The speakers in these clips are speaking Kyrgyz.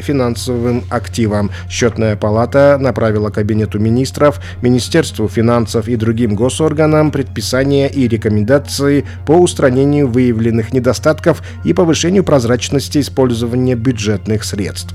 финансовым активам. Счетная палата направила Кабинету министров, Министерству финансов и другим госорганам предписания и рекомендации по устранению выявленных недостатков и повышению прозрачности использования бюджетных средств.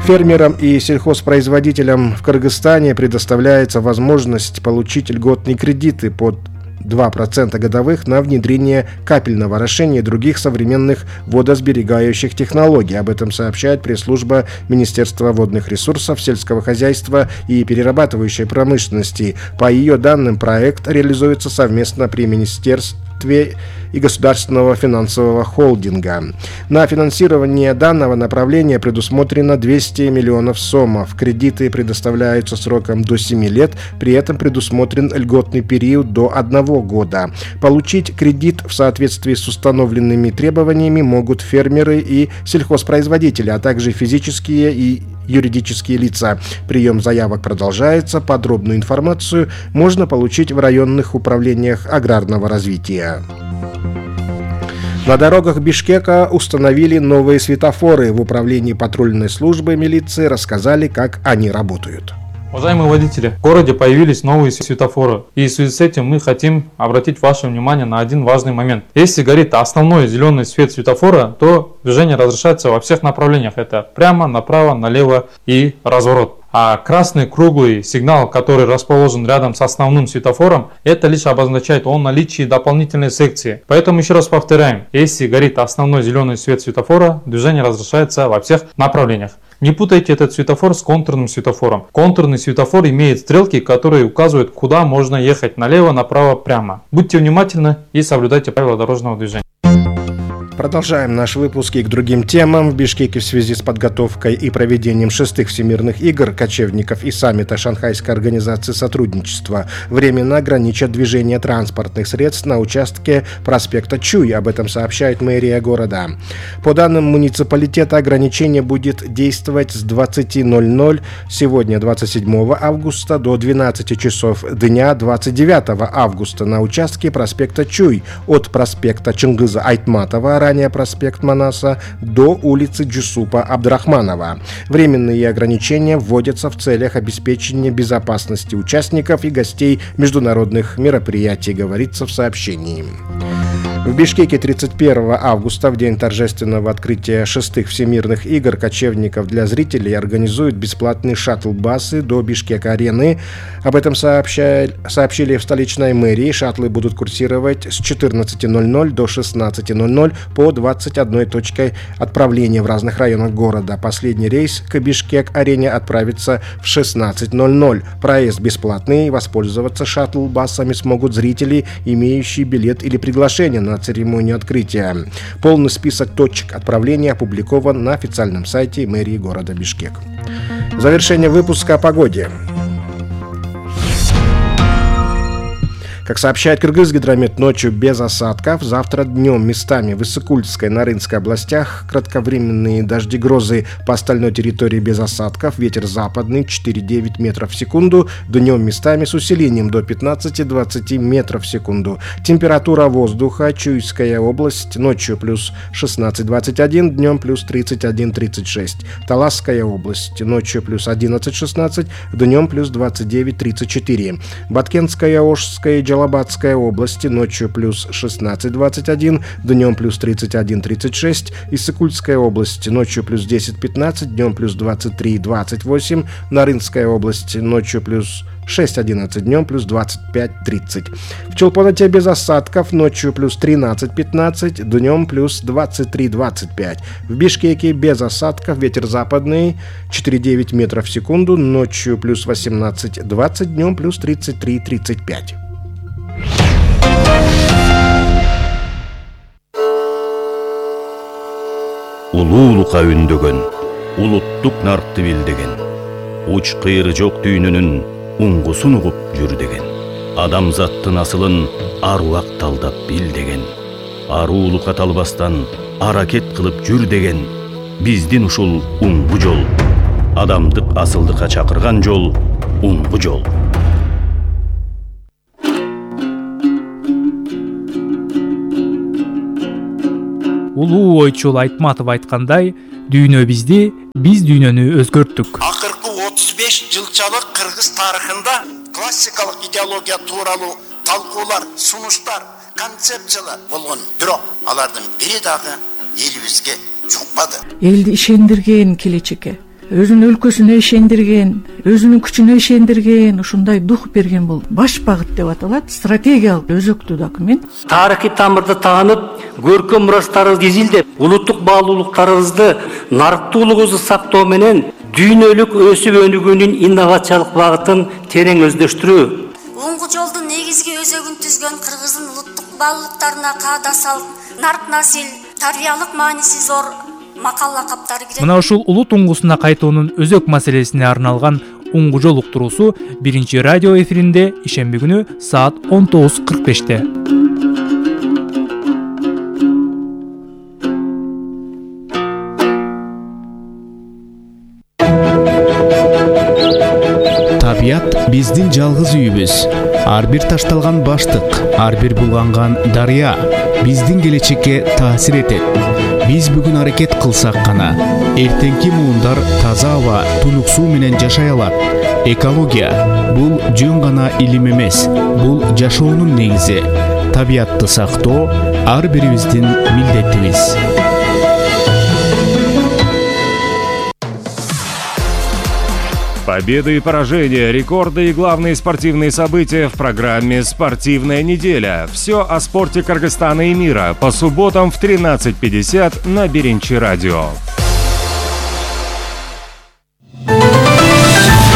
Фермерам и сельхозпроизводителям в Кыргызстане предоставляется возможность получить льготные кредиты под 2% годовых на внедрение капельного орошения и других современных водосберегающих технологий. Об этом сообщает пресс-служба Министерства водных ресурсов, сельского хозяйства и перерабатывающей промышленности. По ее данным, проект реализуется совместно при Министерстве и Государственного финансового холдинга. На финансирование данного направления предусмотрено 200 миллионов сомов. Кредиты предоставляются сроком до 7 лет, при этом предусмотрен льготный период до 1 года. Получить кредит в соответствии с установленными требованиями могут фермеры и сельхозпроизводители, а также физические и юридические лица. Прием заявок продолжается. Подробную информацию можно получить в районных управлениях аграрного развития. На дорогах Бишкека установили новые светофоры. В управлении патрульной службы милиции рассказали, как они работают. Уважаемые водители, в городе появились новые светофоры, и в связи с этим мы хотим обратить ваше внимание на один важный момент. Если горит основной зеленый свет светофора, то движение разрешается во всех направлениях. Это прямо, направо, налево и разворот. А красный круглый сигнал, который расположен рядом с основным светофором, это лишь обозначает о наличии дополнительной секции. Поэтому еще раз повторяем, если горит основной зеленый свет светофора, движение разрешается во всех направлениях. Не путайте этот светофор с контурным светофором. Контурный светофор имеет стрелки, которые указывают, куда можно ехать: налево, направо, прямо. Будьте внимательны и соблюдайте правила дорожного движения. Продолжаем наш выпуск и к другим темам. В Бишкеке в связи с подготовкой и проведением 6-х всемирных игр кочевников и саммита Шанхайской организации сотрудничества временно ограничат движение транспортных средств на участке проспекта Чуй. Об этом сообщает мэрия города. По данным муниципалитета, ограничение будет действовать с 20:00 сегодня, 27 августа, до 12 часов дня 29 августа на участке проспекта Чуй от проспекта Чингиза Айтматова, ранее проспект Манаса, до улицы Джусупа Абдрахманова. Временные ограничения вводятся в целях обеспечения безопасности участников и гостей международных мероприятий, говорится в сообщении. В Бишкеке 31 августа, в день торжественного открытия 6-х всемирных игр кочевников, для зрителей организуют бесплатные шаттл-басы до Бишкек-арены. Об этом сообщили в столичной мэрии. Шаттлы будут курсировать с 14:00 до 16:00 по 21 точке отправления в разных районах города. Последний рейс к Бишкек-арене отправится в 16:00. Проезд бесплатный. Воспользоваться шаттл-басами смогут зрители, имеющие билет или приглашение на церемонию открытия. Полный список точек отправления опубликован на официальном сайте мэрии города Бишкек. Завершение выпуска о погоде. Как сообщает Кыргызгидромет, ночью без осадков. Завтра днем местами в Иссыкульской, Нарынской областях кратковременные дожди, грозы, по остальной территории без осадков. Ветер западный 4,9 метров в секунду. Днем местами с усилением до 15-20 метров в секунду. Температура воздуха: Чуйская область ночью плюс 16-21, днем плюс 31-36. Таласская область ночью плюс 11-16, днем плюс 29-34. Баткенская, Ошская, Джалабадская области ночью плюс 16-21, днем плюс 31-36, Иссыкульская область ночью плюс 10-15, днем плюс 23-28, Нарынская область ночью плюс 6-11, днем плюс 25-30. В Чолпоноте без осадков, ночью плюс 13-15, днем плюс 23-25. В Бишкеке без осадков, ветер западный 4,9 метров в секунду, ночью плюс 18-20, днем плюс 33-35. Улуулукка үндөгөн, улуттук нартты билдеген, уч кыйры жок дүйнөнүн уңгусун угуп жүр деген. Адамзаттын асылын аруак талдап бил деген. Аруулукка талбастан аракет кылып жүр деген. Биздин ушул уңгу жол, адамдык асылдыкка чакырган жол, уңгу жол. Улуу ойчул Айтматов айткандай, Дүйнө бизди, биз дүйнөнү өзгөрттүк. Акыркы 35 жылчалык кыргыз тарыхында классикалык идеология тууралуу талкуулар, сунуштар, концепциялар болгон. Бирок алардын бири дагы элибизге жукпады. Элди ишендирген келечекке, өзүнүн өлкөсүнө ишендирген, өзүнүн күчүнө ишендирген, ушундай дух берген бул баш багыт деп аталат, стратегиялык өзөктүү документ. Тарыхый тамырды таанып, көркөм мурастарыбызды изилдеп, улуттук баалуулуктарыбызды, нарыктуулугубузду сактоо менен дүйнөлүк өсүп өнүгүүнүн инновациялык багытын терең өздөштүрүү. Оңгу жолдун негизги өзөгүн түзгөн кыргыздын улуттук баалуулуктарына каадасал, нарк насил, тарбиялык мааниси зор макал лакаптары кирет. Мына ушул улут уңгусуна кайтуунун өзөк маселесине арналган уңгу жол уктуруусу биринчи радио эфиринде ишемби күнү саат 19:45-те. Табият биздин жалгыз үйүбүз. Ар бир ташталган баштык, ар бир булганган дарыя биздин келечекке таасир этет. Биз бүгүн аракет кылсак гана эртеңки муундар таза аба, тунук суу менен жашай алат. Экология бул жөн гана илим эмес, бул жашоонун негизи. Табиатты сактоо ар бирибиздин милдетибиз. Победы и поражения, рекорды и главные спортивные события в программе «Спортивная неделя». Все о спорте Кыргызстана и мира по субботам в 13:50 на Биринчи радио.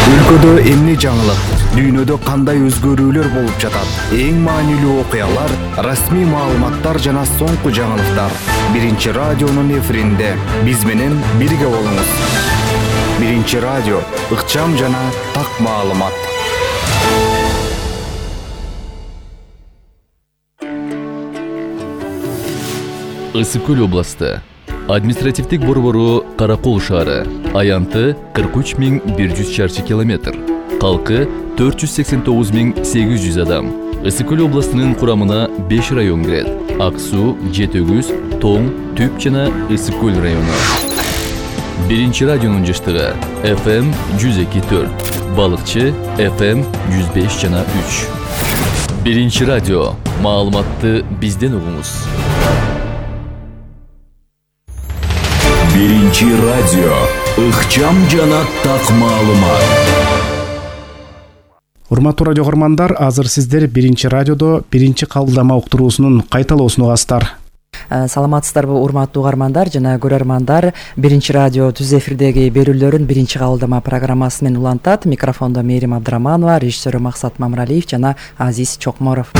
Өлкөдө эмне жаңылык, дүйнөдө кандай өзгөрүүлөр болуп жатат, эң маанилүү окуялар, расмий маалыматтар жана соңку жаңылыктар. Биринчи радионун эфиринде биз менен бирге болуңуз. Биринчи радио, ыкчам жана так маалымат. Ысык көл областы. Административдик борбору Каракол шаары. Аянты 43.100 чарчы километр. Калкы 489.800 адам. Ысык көл областынын курамына 5 район кирет. Ак суу, Жетөгүз, Тоң, Түп жана Ысык көл району. Биринчи радионун жыштыгы FM 102.4, Балыкчы FM 105 жана 3. Биринчи радио, маалыматты бизден угуңуз. Биринчи радио, ыкчам жана так маалымат. Урматтуу радио көрөрмандар, азыр сиздер Биринчи радиодо биринчи кабылдама уктуруусунун кайталоосун угасыздар. Саламатсыздарбы урматтуу угармандар жана көрөрмандар. Биринчи радио түз эфирдеги берүүлөрүн биринчи кабылдама программасы менен улантат. Микрофондо Мээрим Абдыраманова, режиссеру Максат Мамралиев жана Азиз Чокморов.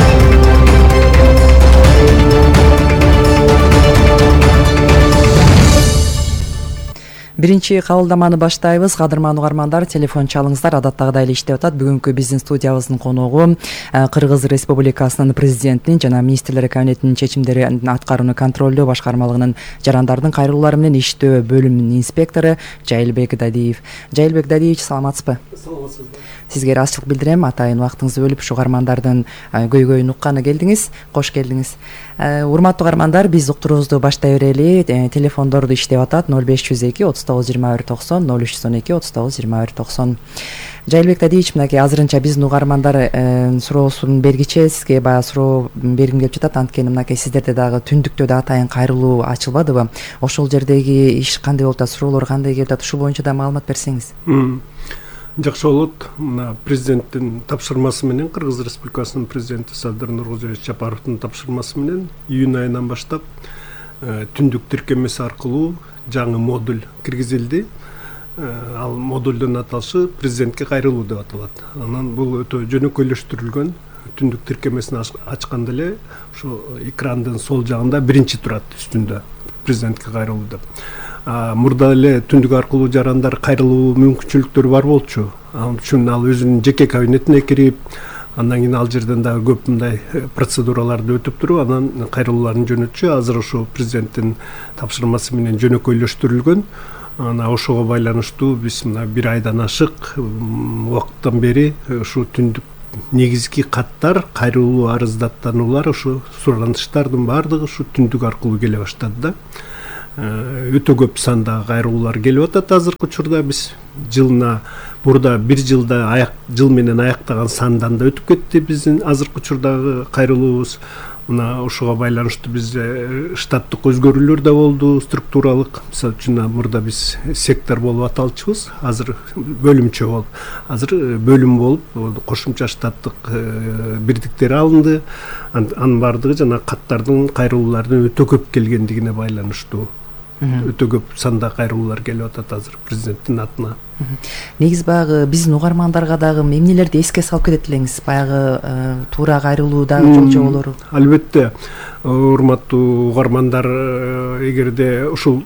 Биринчи кабылдаманы баштайбыз. Кадырман угармандар, телефон чалыңыздар, адаттагыдай эле иштеп атат. Бүгүнкү биздин студиябыздын коногу Кыргыз Республикасынын президентинин жана министрлер кабинетинин чечимдерин аткарууну контролдоо башкармалыгынын жарандардын кайрылуулары менен иштөө бөлүмүнүн инспектору Жайылбек Дадиев. Жайылбек Дадиевич, саламатсызбы? Саламатсызбы. Сизге ыраазычылык билдирем. Атайын убактыңызды бөлүп ушу угармандардын көйгөйүн укканы келдиңиз. Кош келдиңиз. Урматтуу угармандар, биз уктуруубузду баштай берели. Телефондорду иштеп атат 0502 392190, 0312 392190. Жайылбек Дадиевич, мынакей азырынча биздин угармандар суроосун бергиче сизге баягы суроо бергим келип жатат. Анткени мынакей сиздерде дагы түндүктө да атайын кайрылуу ачылбадыбы? Ошол жердеги иш кандай болуп атат, суроолор кандай келип атат? Ушул боюнча да маалымат берсеңиз. Жакшы болот. Мына президенттин тапшырмасы менен, Кыргыз Республикасынын президенти Садыр Нуркожоевич Жапаровдун тапшырмасы менен июнь айынан баштап түндүк тиркемеси аркылуу жаңы модуль киргизилди. Ал модулдун аталышы президентке кайрылуу деп аталат. Анан бул өтө жөнөкөйлөштүрүлгөн. Түндүк тиркемесин ачканда эле ушу экрандын сол жагында биринчи турат үстүндө президентке кайрылуу деп. Мурда эле түндүк аркылуу жарандар кайрылуу мүмкүнчүлүктөрү бар болчу. Ал үчүн ал өзүнүн жеке кабинетине кирип, андан кийин ал жерден дагы көп мындай процедураларды өтүп туруп, анан кайрылууларын жөнөтчү. Азыр ошо президенттин тапшырмасы менен жөнөкөйлөштүрүлгөн. Ана ошого байланыштуу биз мына бир айдан ашык убакыттан бери ушу түндүк негизги каттар, кайрылуу арыздаттануулар, ушу суранычтардын баардыгы ушу түндүк аркылуу келе баштады да. өтө көп санда кайрылуулар келип атат. Азыркы учурда биз жылына мурда бир жыл менен аяктаган сандан да өтүп кетти биздин азыркы учурдагы кайрылуубуз. Мына ушуга байланыштуу бизде штаттык өзгөрүүлөр да болду, структуралык. Мисалы үчүн мурда биз сектор болуп аталчубуз, азыр бөлүмчө болуп. Азыр бөлүм болуп кошумча штаттык бирдиктер алынды. Анын бардыгы жана каттардын кайрылуулардын өтө көп келгендигине байланыштуу. Өтө көп санда кайрылуулар келип атат азыр президенттин атына. Негизи баягы биздин угармандарга дагы эмнелерди эске салып кетет элеңиз? Баягы туура кайрылуудагы жол жоболору. Албетте, урматтуу угармандар, эгерде ушул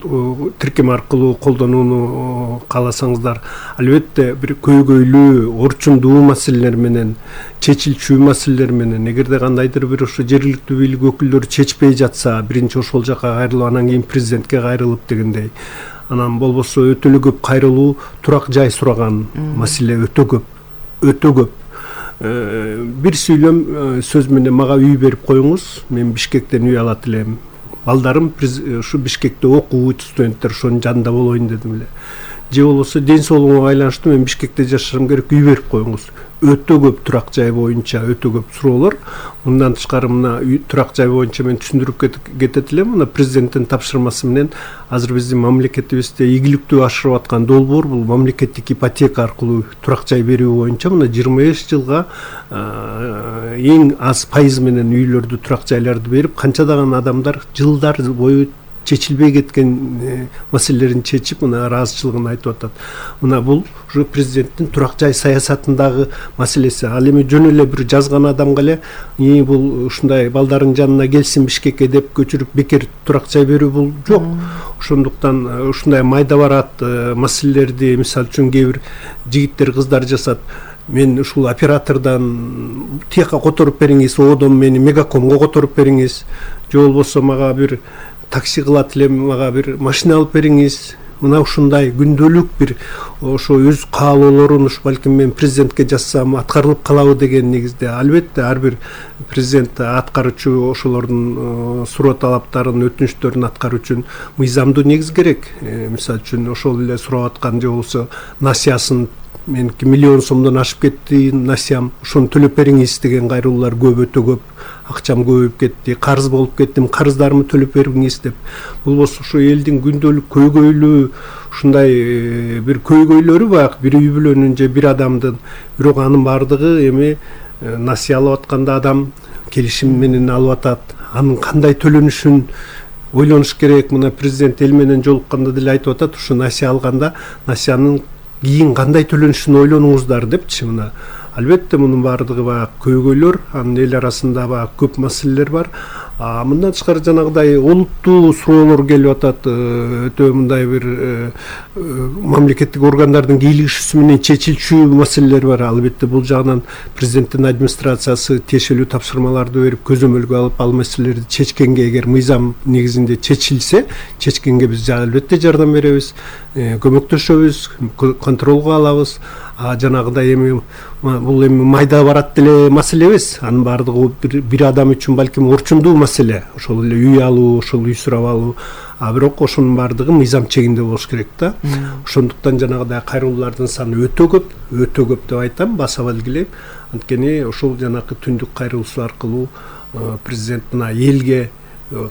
тиркем аркылуу колдонууну кааласаңыздар, албетте бир көйгөйлүү, орчундуу маселелер менен, чечилчү маселелер менен, эгерде кандайдыр бир ушу жергиликтүү бийлик өкүлдөрү чечпей жатса, биринчи ошол жака кайрылып, анан кийин президентке кайрылып дегендей. Анан болбосо өтө эле көп кайрылуу, турак жай сураган маселе өтө көп. Бир сүйлөм сөз менен мага үй берип коюңуз, мен Бишкектен үй алат элем. Балдарым ушу Бишкекте окуйт, студенттер ошонун жанында болоюн дедим эле. Же болбосо ден соолугума байланыштуу мен Бишкекте жашашым керек, үй берип коюңуз. Өтө көп турак жай боюнча өтө көп суроолор. Мындан тышкары мына турак жай боюнча мен түшүндүрүп кетет элем. Мына президенттин тапшырмасы менен азыр биздин мамлекетибизде ийгиликтүү ашырып аткан долбоор бул мамлекеттик ипотека аркылуу турак жай берүү боюнча мына 25 жылга эң аз пайыз менен үйлөрдү, турак жайларды берип, канчадаган адамдар жылдар бою чечилбей кеткен маселелерин чечип, мына ыраазычылыгын айтып атат. Мына бул ушу президенттин турак жай саясатындагы маселеси. Ал эми жөн эле бир жазган адамга эле бул ушундай балдардын жанына келсин Бишкекке деп көчүрүп бекер турак жай берүү бул жок. Ошондуктан ушундай майда барат маселелерди, мисалы үчүн кээ бир жигиттер, кыздар жасат. Мен ушул оператордон тияка которуп бериңиз, одон мени Мегакомго которуп бериңиз, же болбосо мага бир такси кылат элем, мага бир машина алып бериңиз. Мына ушундай күндөлүк бир ошо өз каалоолорун ушу балким мен президентке жазсам аткарылып калабы деген негизде. Албетте ар бир президент аткаруучу ошолордун суроо талаптарын, өтүнүчтөрүн аткаруу үчүн мыйзамдуу негиз керек. Мисалы үчүн ошол эле сурап аткан же болбосо насыясын меники миллион сомдон ашып кетти насыям, ошону төлөп бериңиз деген кайрылуулар көп, өтө көп. Акчам көбөйүп кетти, карыз болуп кеттим, карыздарымы төлөп бериңиз деп. Болбосо ушу элдин күндөлүк көйгөйлүү ушундай бир көйгөйлөрү баягы бир үй бүлөнүн же бир адамдын, бирок анын бардыгы эми насыя алып атканда адам келишим менен алып атат. Анын кандай төлөнүшүн ойлонуш керек. Мына президент эл менен жолукканда деле айтып атат, ушу насыя алганда насыянын кийин кандай төлөнүшүн ойлонуңуздар депчи. Мына албетте мунун бардыгы баягы көйгөйлөр, анын эл арасында баягы көп маселелер бар. Мындан тышкары жанагыдай олуттуу суроолор келип атат, өтө мындай бир мамлекеттик органдардын кийлигишүүсү менен чечилчү маселелер бар. Албетте бул жагынан президенттин администрациясы тиешелүү тапшырмаларды берип, көзөмөлгө алып, ал маселелерди чечкенге, эгер мыйзам негизинде чечилсе, чечкенге биз албетте жардам беребиз, көмөктөшөбүз, контролго алабыз. Жанагыдай эми бул эми майда барат деле маселе эмес. Анын бардыгы бир адам үчүн балким орчундуу маселе. Ошол эле үй алуу, ошол үй сурап алуу. Бирок ошонун бардыгы мыйзам чегинде болуш керек да. Ошондуктан жанагыдай кайрылуулардын саны өтө көп деп айтам, баса белгилейм. Анткени ошол жанакы түндүк кайрылуусу аркылуу президент мына элге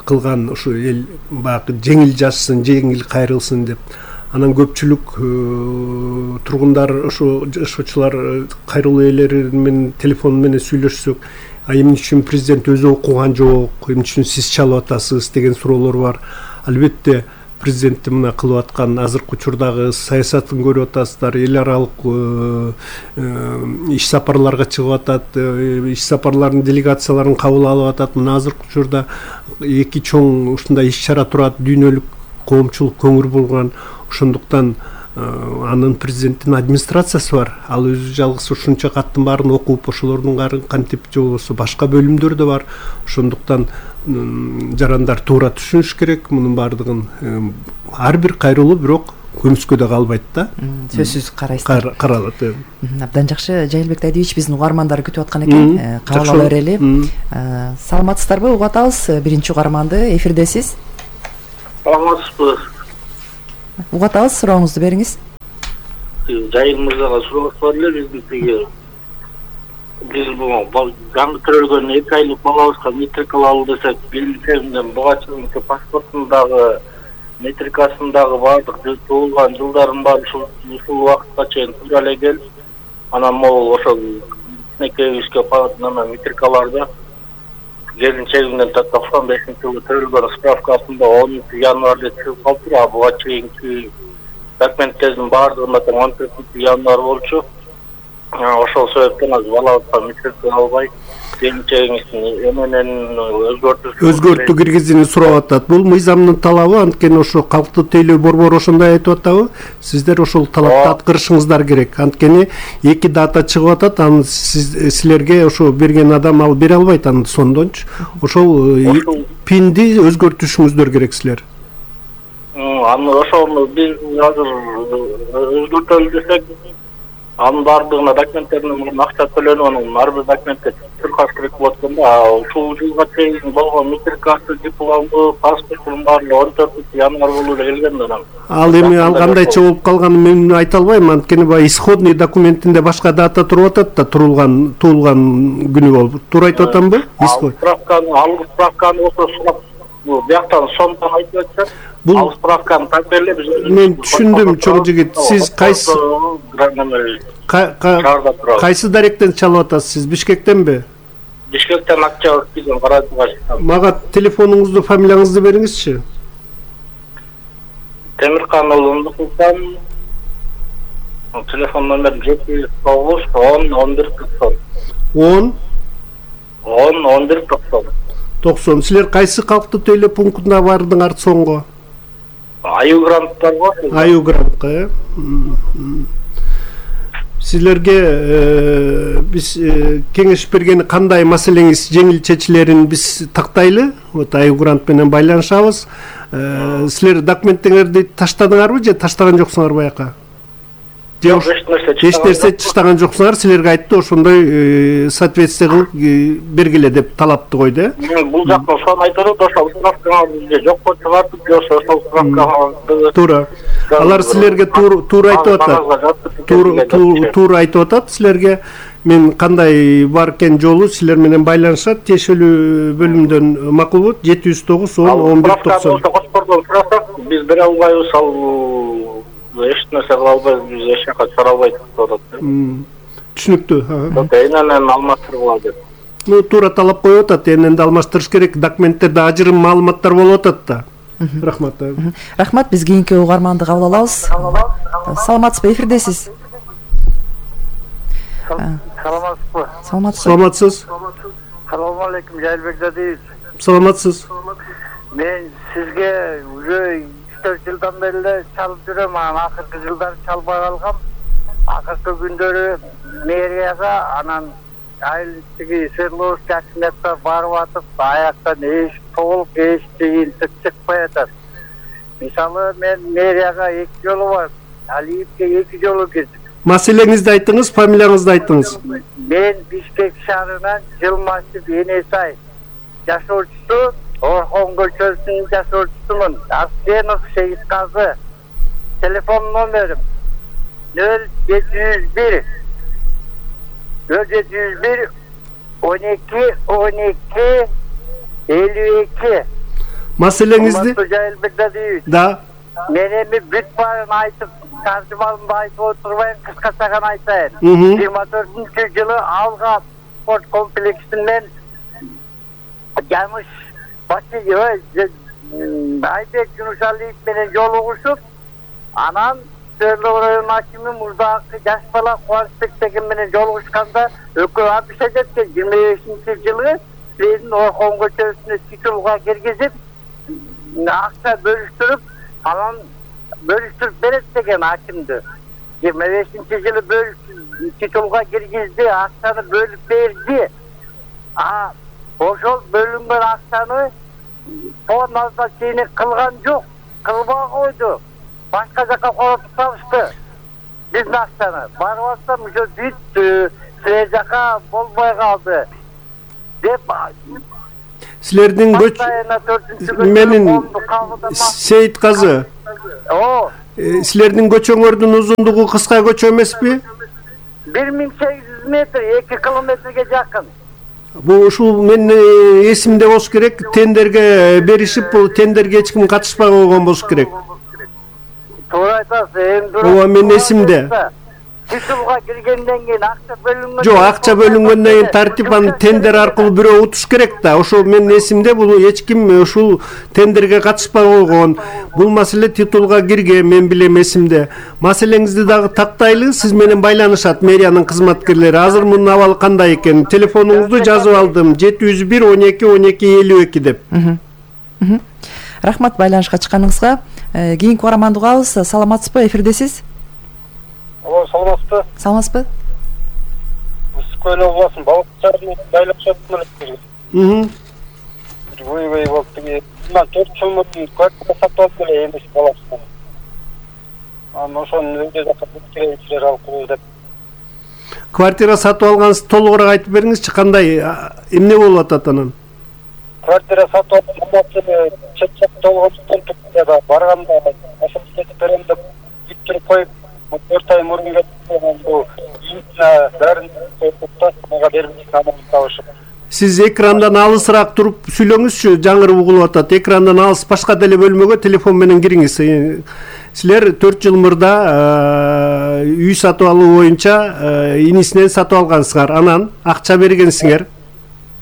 кылган ушу эл баягы жеңил жашсын, жеңил кайрылсын деп. Анан көпчүлүк тургундар, ошо жашоочулар кайрылуу ээлери менен телефон менен сүйлөшсөк, эмне үчүн президент өзү окуган жок, эмне үчүн сиз чалып атасыз деген суроолор бар. Албетте президенттин мына кылып аткан азыркы учурдагы саясатын көрүп атасыздар. Эл аралык иш сапарларга чыгып атат, иш сапарлардын делегацияларын кабыл алып атат. Мына азыркы учурда эки чоң ушундай иш чара турат, дүйнөлүк коомчулук көңүл бурган. Ошондуктан анын президенттин администрациясы бар. Ал өзү жалгыз ушунча каттын баарын окуп, ошолордун кантип же болбосо башка бөлүмдөр да бар. Ошондуктан жарандар туура түшүнүш керек мунун бардыгын. Ар бир кайрылуу бирок көмүскөдө калбайт да. Сөзсүз карайсыздар. Каралат. Абдан жакшы. Жайылбек Дайдиевич биздин угармандар күтүп аткан экен. Кабыл ала берели. Саламатсыздарбы? Угуп атабыз. Биринчи угарманды эфирдесиз. саламатсызбы? Угуп атабыз, сурооңузду бериңиз. Жайын мырзага суроо бар эле, биз бул жаңы төрөлгөн 2 айлык балабызга метрика алалы десек, билимден буга чейин паспортундагы метрикасындагы баардык туулган жылдарын баары ушул убакытка чейин туура эле келип, анан могул ошол экөөбүзгө метрикаларды келинчегимден 95-жылы төрөлгөн справкасында 10 январда чыгып калды, буга чейинки документтердин баардыгында 14 январ болчу. Ошол себептен аз балабызга метрика албай, келинчегиңиздин эменен өзгөртүү киргизүүнү сурап атат. Бул мыйзамдын талабы, анткени ошо калктуу тейлөө борбору ошондой айтып атабы? Сиздер ошол талапты аткарышыңыздар керек. Анткени 2 дата чыгып атат, аны силерге ошо берген адам алып бере албайт, аны сондончу. Ошол пинди өзгөртүшүңүздөр керек силер. Аны ошону биз азыр өзгөртөлү десек, анын баардыгына документтердин акча төлөнүп, анын ар бир документке түркаш керек болуп атканда, ушул жылга чейин болгон метрикасы, диплому, паспортунун баары 14 январ болуп келген да. Ал эми ал кандайча болуп калганын мен айта албайм, анткени баягы исходный документинде башка дата туруп атат да, туулган күнү болуп. Туура айтып атамбы? Справканы болсо бул бияктан сомдон айтып атат. Ал справканы так бериле биз. Мен түшүндүм, чоң жигит. Сиз кайсы даректен чалып атасыз? Сиз Бишкектенби? Бишкектен акча өткөзгөн каражатка чыктым. Мага телефонуңузду, фамилияңызды бериңизчи. Темиркан уулу Кулкан. Телефон номерим 709 10 11 90. 10 11 90. Силер кайсы калктуу тейлөө пунктуна бардыңар соңго? Аю гранттар бар. Аю грантка, Силерге биз кеңеш бергени кандай маселеңиз жеңил чечилерин биз тактайлы. Вот аю грант менен байланышабыз. Силер документтерди таштадыңарбы же таштаган жоксуңар баяка? Эч нерсе таштаган жоксуңар, силерге айтты ошондой соответствие кылып бергиле деп талапты койду. Бул жактан ошону айтып, ошол справканы бизге жокко чыгартып, ошол справканы туура. Алар силерге туура айтып атат. Туура айтып атат силерге. Мен кандай бар экен жолу силер менен байланышат, тиешелүү бөлүмдөн макулбут 709 10 11 90. Биз бере албайбыз, ал эч нерсе кыла албайбыз, биз эч жака чыгара албайт деп атат. Түшүнүктүү. Энен алмаштыргыла деп. Туура талап коюп атат, энен алмаштырыш керек, документтерде ажырым маалыматтар болуп атат да. Рахмат. Рахмат, биз кийинки угарманды кабыл алабыз. Саламатсызбы, эфирдесиз? Саламатсызбы? Саламатсыз. Саламу алейкум, Жайлбек Дадиевич. Саламатсыз. Мен сизге уже 3-4 жылдан бери чалып жүрөм, акыркы жылдары чалбай калгам. Акыркы күндөрү мэрияга, анан айылдыгы Свердловский акиматка барып атып, аяктан эч толук эч жыйынтык чыкпай атат. Мисалы мен мэрияга 2 жолу барып, Алиевке 2 жолу кирдим. Маселеңизди айтыңыз, фамилияңызды айтыңыз. Мен Бишкек шаарынан Жылмашев Энесай жашоочусу, Орхон көчөсүнүн жашоочусумун. Арсенов Шейитказы. Телефон номерим 0701 12 12 52. Маселеңизди? Да. Мен эми бүт баарын айтып, таржымалымды айтып отурбайм, кыскача гана айтайын. 24-жылы Алга спорт комплексинен Жамыш Айбек Жунушалиев менен жолугушуп, анан Свердлов район акими мурдагы жаш бала Кубанычбек деген менен жолугушканда экөө абишка жеткен 25-жылы силердин Орхон көчөсүнө титулга киргизип, акча бөлүштүрүп, анан бөлүштүрүп берет деген акимди. 25-жылы титулга киргизди, акчаны бөлүп берди. Ошол бөлүнгөн акчаны по назначение кылган жок, кылбай койду. Башка жака коротуп салышты. Биздин акчаны барып атсам, ошо бүт силер жака болбой калды деп. Силердин менин Сейитказы. Силердин көчөңөрдүн узундугу кыска көчө эмеспи? 1800 метр, 2 километрге жакын. Бул ушул менин эсимде болуш керек. Тендерге беришип, бул тендерге эч ким катышпай койгон болуш керек. Туура айтасыз. Ооба, менин эсимде. Титулга киргенден кийин акча бөлүнгөн. Жок, акча бөлүнгөндөн кийин тартипан тендер аркылуу бирөө утуш керек да. Ошол менин эсимде, бул эч ким ушул тендерге катышпай койгон. Бул маселе титулга кирген, мен билем эсимде. Маселеңизди дагы тактайлы, сиз менен байланышат мэриянын кызматкерлери. Азыр мунун абалы кандай экен? Телефонуңузду жазып алдым. 701 12 12 52 деп. Рахмат байланышка чыкканыңызга. Кийинки угарманды угабыз. Саламатсызбы? Эфирдесиз. Саламатсызбы? Саламатсызбы? Үскөл областын балык чарынын байланышатынан өткөргөн. Ой болуп келе. Мына 4 жыл мурун квартира сатып алып эле эмес баласынан. Ошону өйдө жакка бүткөрөчүлөр алып коюу деп. Квартира сатып алганыңызды толугураак айтып бериңизчи, кандай эмне болуп атат анан? Квартира сатып алып, чет жакта болгондуктан турганда барганда ашып кетип берем деп бүттүрүп коюп 4 ай мурун кетип бул бәрін коюп мага бербейт намын табышып. Сиз экрандан алысыраак туруп сүйлөңүзчү, жаңырып угулуп атат. Экрандан алыс башка деле бөлмөгө телефон менен кириңиз. Силер 4 жыл мурда үй сатып алуу боюнча инисинен сатып алгансыңар. Анан акча бергенсиңер.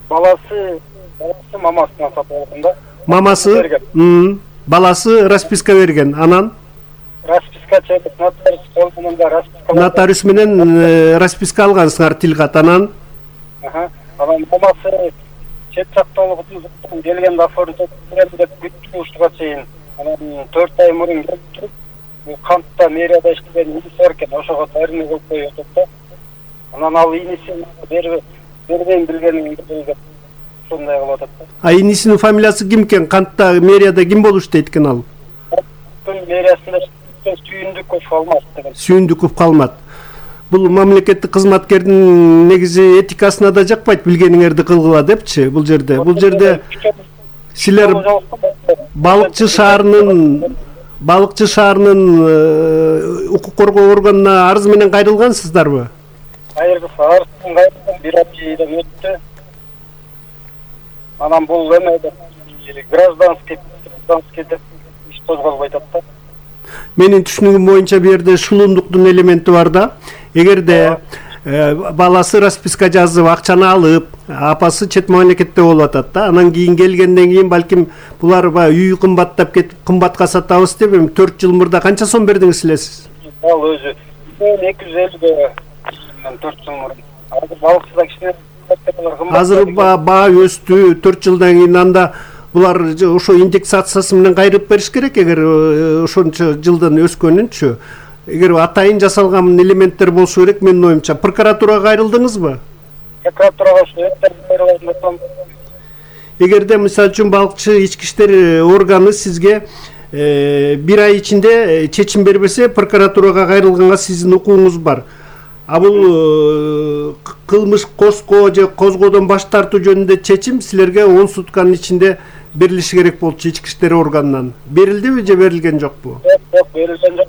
Баласы мамасына сатып алган да. Мамасы, баласы расписка берген. Анан расписка чегип нотариус колунда расписка. Нотариус менен расписка алгансыңар тилгат. Анан анан мамасы чет жакта болгондуктан келгенде оформить берем деп күттү ушуга чейин. Анан 4 ай мурун келип бул кантта мэрияда иштеген иниси бар экен, ошого тарыны коюп коюп атат да. Анан ал инисин бербейм билгенин деп ушундай кылып атат да. Инисинин фамилиясы ким экен? Кантта мэрияда ким болуп иштейт экен ал? Мэриясында Сүйүндүков Алмат деген. Сүйүндүков Алмат. Бул мамлекеттик кызматкердин негизи этикасына да жакпайт, билгениңерди кылгыла депчи. Бул жерде силер балыкчы шаарынын укук коргоо органына арыз менен кайрылгансыздарбы? Арыздын кайрылган 1 айдан өттү. Анан бул эме гражданский деп иш козголбой атат да. Менин түшүнүгүм боюнча бу жерде шулундуктун элементи бар да. Эгерде баласы расписка жазып, акчаны алып, апасы чет мамлекетте болуп атат да. Анан кийин келгенден кийин балким булар үй кымбаттап кетип, кымбатка сатабыз деп 4 жыл мурда канча сом бердиңиз силерсиз? Ал өзү 250 4 жыл мурун. Азыр балыкчыда кичине азыр баа өстү 4 жылдан кийин. Анда булар ошо индексациясы менен кайрып бериш керек. Эгер ошончо жылдан өскөнүнчү, эгер атайын жасалган элементтер болушу керек, менин оюмча. Прокуратурага кайрылдыңызбы? Прокуратурага кайрылдым. Эгерде мисалы үчүн балыкчы ички иштер органы сизге 1 ай ичинде чечим бербесе, прокуратурага кайрылганга сиздин укугуңуз бар. А бул кылмыш козгоо же козгоодон баш тартуу жөнүндө чечим силерге 10 сутканын ичинде берилиши керек болчу ички иштер органынан. Берилдиби же берилген жокпу? Жок, берилген жок.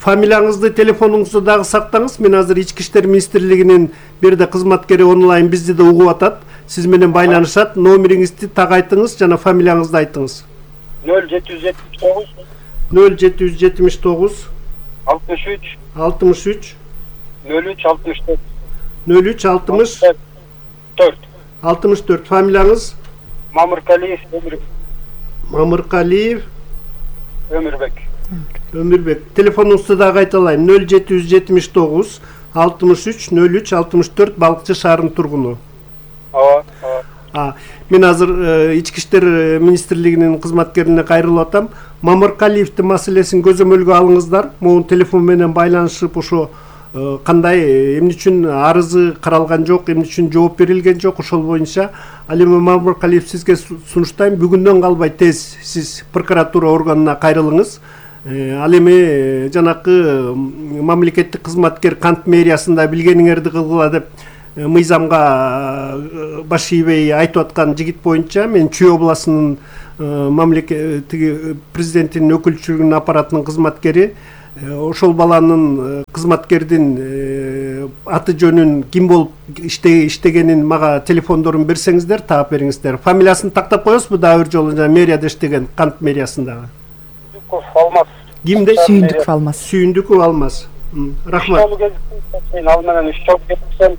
Фамилияңызды, телефонуңузду дагы сактаңыз. Мен азыр ички иштер министрлигинин бирде кызматкери онлайн бизди да угуп атат. Сиз менен байланышат. Номериңизди так айтыңыз жана фамилияңызды айтыңыз. 0779 0779 63 63 03 64 03 64 64. Фамилияңыз? Мамыркалиев Өмүрбек. Мамыркалиев Өмүрбек. Телефонуңузду дагы айталайын. 0779 63 03 64 балыкчы шаарынын тургуну. Мен азыр ички иштер министрлигинин кызматкерине кайрылып атам. Мамыркалиевдин маселесин көзөмөлгө алыңыздар. Могу телефон менен байланышып ошо кандай эмне үчүн арызы каралган жок, эмне үчүн жооп берилген жок, ошол боюнча ал эми Мамыркалиев сизге сунуштайм, бүгүндөн калбай тез сиз прокуратура органына кайрылыңыз. Ал эми жанакы мамлекеттик кызматкер кант мэриясында билгениңерди кылгыла деп мыйзамга баш ийбей айтып аткан жигит боюнча мен Чүй областынын мамлекеттиги президенттин өкүлчүлүгүнүн аппаратынын кызматкери, ошол баланын кызматкердин аты жөнүн ким болуп иштегенин мага телефондорун берсеңиздер, таап бериңиздер. Фамилиясын тактап коесузбу дагы бир жолу? Мерияда иштеген, Кант мэриясындагы. Алмаз. Кимде? Сүйүндүков Алмаз. Сүйүндүков Алмаз. Рахмат. Мен ал менен 3 жыл кетсем,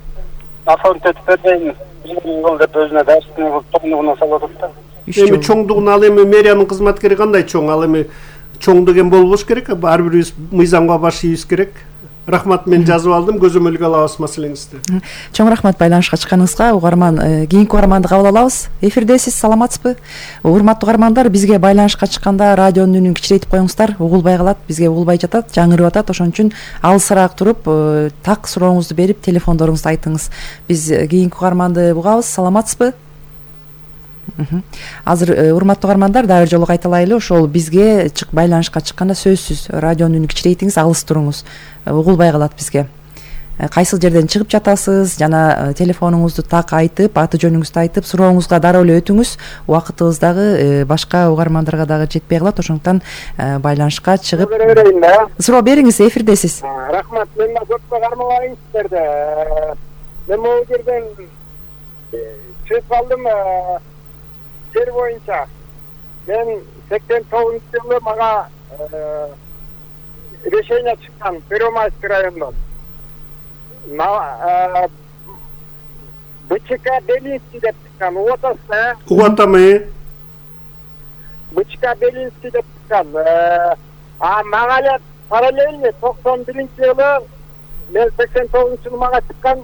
оформить этип бербейм. Деп өзүнө дарстын чоңдугуна салып атат да. Эми чоңдугун ал эми мэриянын кызматкери кандай чоң? Ал эми чоң деген болбош керек, ар бирибиз мыйзамга баш ийбиз керек. Рахмат, мен жазып алдым, көзөмөлгө алабыз маселеңизди. Чоң рахмат байланышка чыкканыңызга. Угарман, кийинки угарманды кабыл алабыз. Эфирдесиз, саламатсызбы? Урматтуу угармандар, бизге байланышка чыкканда радионун үнүн кичирейтип коюңуздар. Угулбай калат, бизге угулбай жатат, жаңырып атат. Ошон үчүн алысыраак туруп, так сурооңузду берип, телефондоруңузду айтыңыз. Биз кийинки угарманды угабыз. Саламатсызбы? Азыр урматтуу угармандар, дагы бир жолу кайталайлы, ошол бизге байланышка чыкканда сөзсүз радионун үнүн кичирейтиңиз, алыс туруңуз. Угулбай калат бизге. Кайсыл жерден чыгып жатасыз, жана телефонуңузду так айтып, аты жөнүңүздү айтып, сурооңузга дароо эле өтүңүз. Убакытыбыз дагы башка угармандарга дагы жетпей калат, ошондуктан байланышка чыгып суроо бериңиз, эфирдесиз. Рахмат, мен көпкө кармабайын сиздерди. Мен могу жерден чыгып калдым жер боюнча. Мен 89-жылы мага решение чыккан Первомайский райондон. БЧК Белинский деп чыккан. Угатасыз, Угатамы? БЧК Белинский деп чыккан. Мага эле параллельно 91-жылы, мен 89-жылы мага чыккан,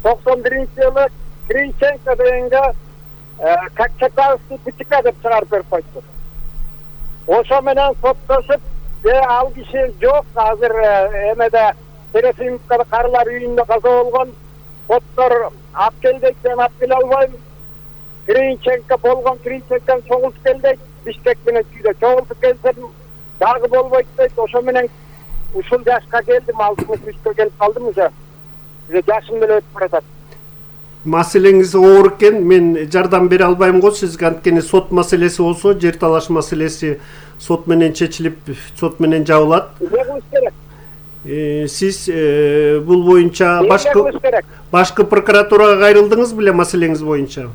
91-жылы Криченко дегенге Качакавский БЧК деп чыгарып берип койду. Ошо менен соттошуп, ал киши жок, азыр эмеде Тересимовкада карылар үйүндө каза болгон. Соттор алып келдик, мен алып келе албайм. Криченко болгон, Криченкону чогултуп келдик, Бишкек менен Чүйдө чогултуп келсем дагы болбойт дейт. Ошо менен ушул жашка келдим, 63-кө келип калдым уже. Жашым деле өтүп баратат. Маселеңиз оор экен, мен жардам бере албайм го сизге, анткени сот маселеси болсо, жер талаш маселеси сот менен чечилип, сот менен жабылат. Сиз бул боюнча башкы прокуратурага кайрылдыңыз беле маселеңиз боюнча?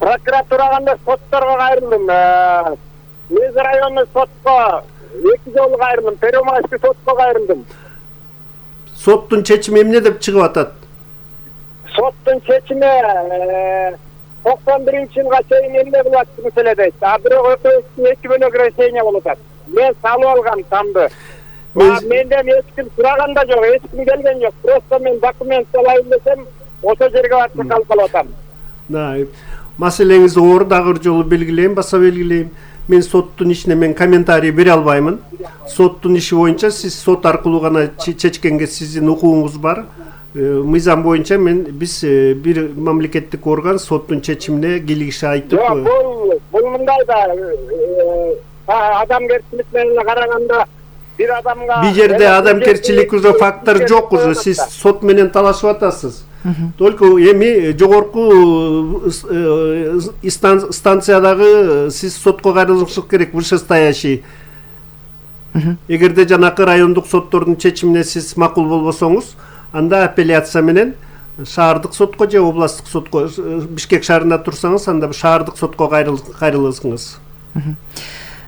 Прокуратурага эмес, сотторго кайрылдым. Мез райондук сотко 2 жолу кайрылдым, Первомайский сотко кайрылдым. Соттун чечими эмне деп чыгып атат? Соттун чечими 91-жылга чейин эмне кылат маселе дейт. Бирок өтө 2 бөлөк решение болуп атат. Мен салып алгам тамды. Менден эч ким сураган да жок, эч ким келген жок. Просто мен документ алайын десем, ошо жерге барып калып атам. Маселеңиз оор, дагы бир жолу белгилейм, баса белгилейм. Мен соттун ишине мен комментарий бере албаймын. Соттун иши боюнча сиз сот аркылуу гана чечкенге сиздин укугуңуз бар. Мыйзам боюнча биз бир мамлекеттик орган соттун чечимине кийлигиши айтып. Бул мындай да адамгерчилик менен караганда бир адамга бир жерде адамгерчилик уже фактор жок, уже сиз сот менен талашып атасыз. Только эми жогорку станциядагы сиз сотко кайрылышыңыз керек, вышестоящий. Эгерде жанакы райондук соттордун чечимине сиз макул болбосоңуз, анда апелляция менен шаардык сотко же областтык сотко, Бишкек шаарында турсаңыз, анда шаардык сотко кайрыласыңыз.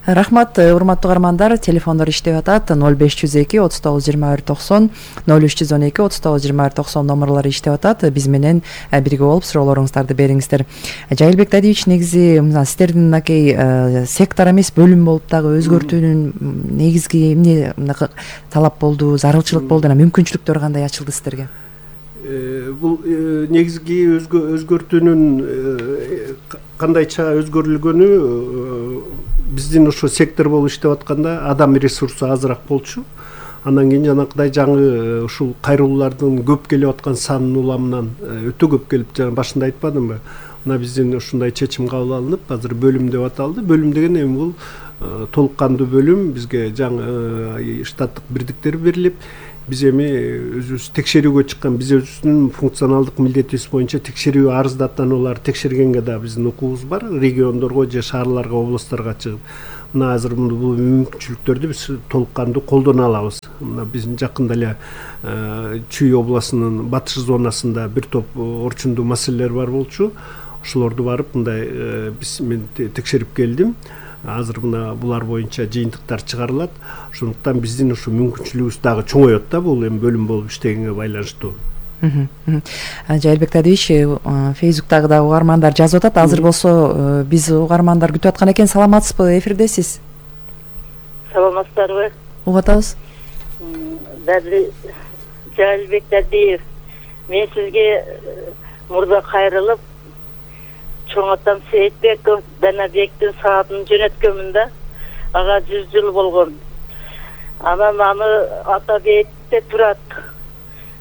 Рахмат, урматтуу угармандар, телефондор иштеп атат. 0502 39 21 90, 0312 39 21 90 номерлору иштеп атат. Биз менен бирге болуп суроолоруңуздарды бериңиздер. Жайылбек Дадиевич, негизи сиздердин мынакей сектор эмес бөлүм болуп дагы өзгөртүүнүн негизги эмне талап болду, зарылчылык болду, мүмкүнчүлүктөр кандай ачылды сиздерге? Бул негизги өзгөртүүнүн кандайча өзгөрүлгөнү биздин ушу сектор болуп иштеп атканда адам ресурсу азыраак болчу. Андан кийин жанакыдай жаңы ушул кайрылуулардын көп келип аткан санынын уламынан өтө көп келип, жана башында айтпадымбы? Мына биздин ушундай чечим кабыл алынып, азыр бөлүм деп аталды. Бөлүм деген эми бул толук кандуу бөлүм, бизге жаңы штаттык бирдиктер берилип, биз эми өзүбүз текшерүүгө чыккан, биз өзүбүздүн функционалдык милдетибиз боюнча текшерүү арыздаттанууларды текшергенге да биздин укугубуз бар, региондорго же шаарларга, областтарга чыгып. Мына азыр бул мүмкүнчүлүктөрдү биз толук кандуу колдоно алабыз. Мына биздин жакында эле Чүй областынын батыш зонасында бир топ орчундуу маселелер бар болчу. Ошолорду барып мындай мен текшерип келдим. Азыр мына булар боюнча жыйынтыктар чыгарылат. Ошондуктан биздин ушу мүмкүнчүлүгүбүз дагы чоңоет да, бул эми бөлүм болуп иштегенге байланыштуу. Жайылбек Тадиевич, Фейсбуктагы да угармандар жазып атат. Азыр болсо биз угармандар күтүп аткан экен. Саламатсызбы? Эфирдесиз. Саламатсыздарбы? Угуп атабыз. Жайылбек Тадиев, мен сизге мурда кайрылып, чоң атам Сейитбеков Данабектин саатын жөнөткөнмүн да. Ага 100 жыл болгон. Анан аны ата бейитте турат.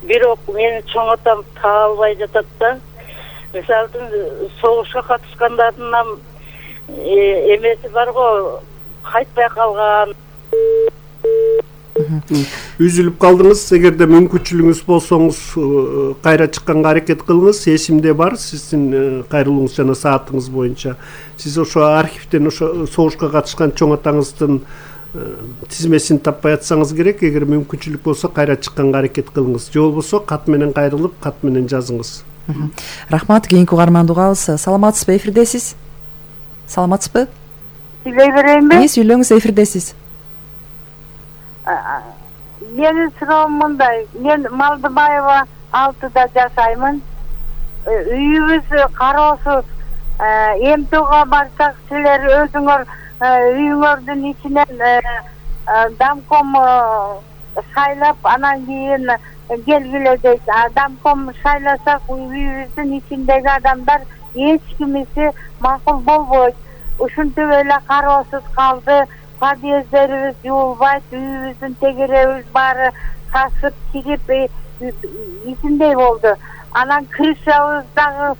Бирок менин чоң атам таа албай жатат да. Мисалы үчүн согушка катышкандардын эмеси бар го, кайтпай калган. Үзүлүп калдыңыз. Эгерде мүмкүнчүлүгүңүз болсоңуз кайра чыкканга аракет кылыңыз. Эсимде бар сиздин кайрылууңуз жана саатыңыз боюнча. Сиз ошо архивден ошо согушка катышкан чоң атаңыздын тизмесин таппай атсаңыз керек. Эгер мүмкүнчүлүк болсо кайра чыкканга аракет кылыңыз. Же болбосо кат менен кайрылып, кат менен жазыңыз. Рахмат. Кийинки угарманды угабыз. Саламатсызбы? Эфирдесиз. Саламатсызбы? Сүйлөй берейинби? Сүйлөңүз, эфирдесиз. Менин суроом мындай. Мен Малдыбаева 6-да жашаймын. Үйүбүз кароосуз. МТОга барсак, силер өзүңөр үйүңөрдүн ичинен дамком шайлап, анан кийин келгиле дейт. Дамком шайласак, үйүбүздүн ичиндеги адамдар эч кимиси макул болбойт. Ушинтип эле кароосуз калды. Подъездерибиз жуулбайт, үйүбүздүн тегеребиз баары тасып, кирип, ичиндей болду. Анан крышабыз дагы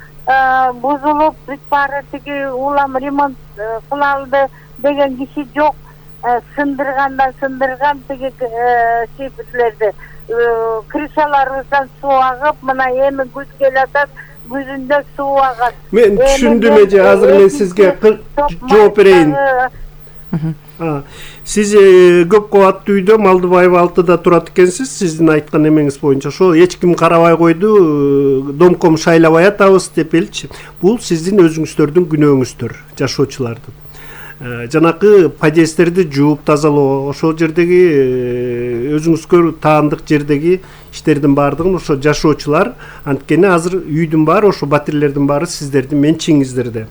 бузулуп, бүт баары тиги улам ремонт кылалды деген киши жок. Сындырган тиги шифрлерди. Крышаларыбыздан суу агып, мына эми күз келатат, күзүндө суу агат. Мен түшүндүм эже, азыр мен сизге жооп берейин. Сиз көп кабаттуу үйдө Малдыбаева 6-да турат экенсиз. Сиздин айткан эмеңиз боюнча ошо эч ким карабай койду, домком шайлабай атабыз деп элчи. Бул сиздин өзүңүздөрдүн күнөөңүздөр, жашоочулардын. Жанакы подъездерди жууп тазалоо, ошол жердеги өзүңүзгө таандык жердеги иштердин баардыгын ошо жашоочулар, анткени азыр үйдүн баары, ошо батирлердин баары сиздердин менчигиңиздерде.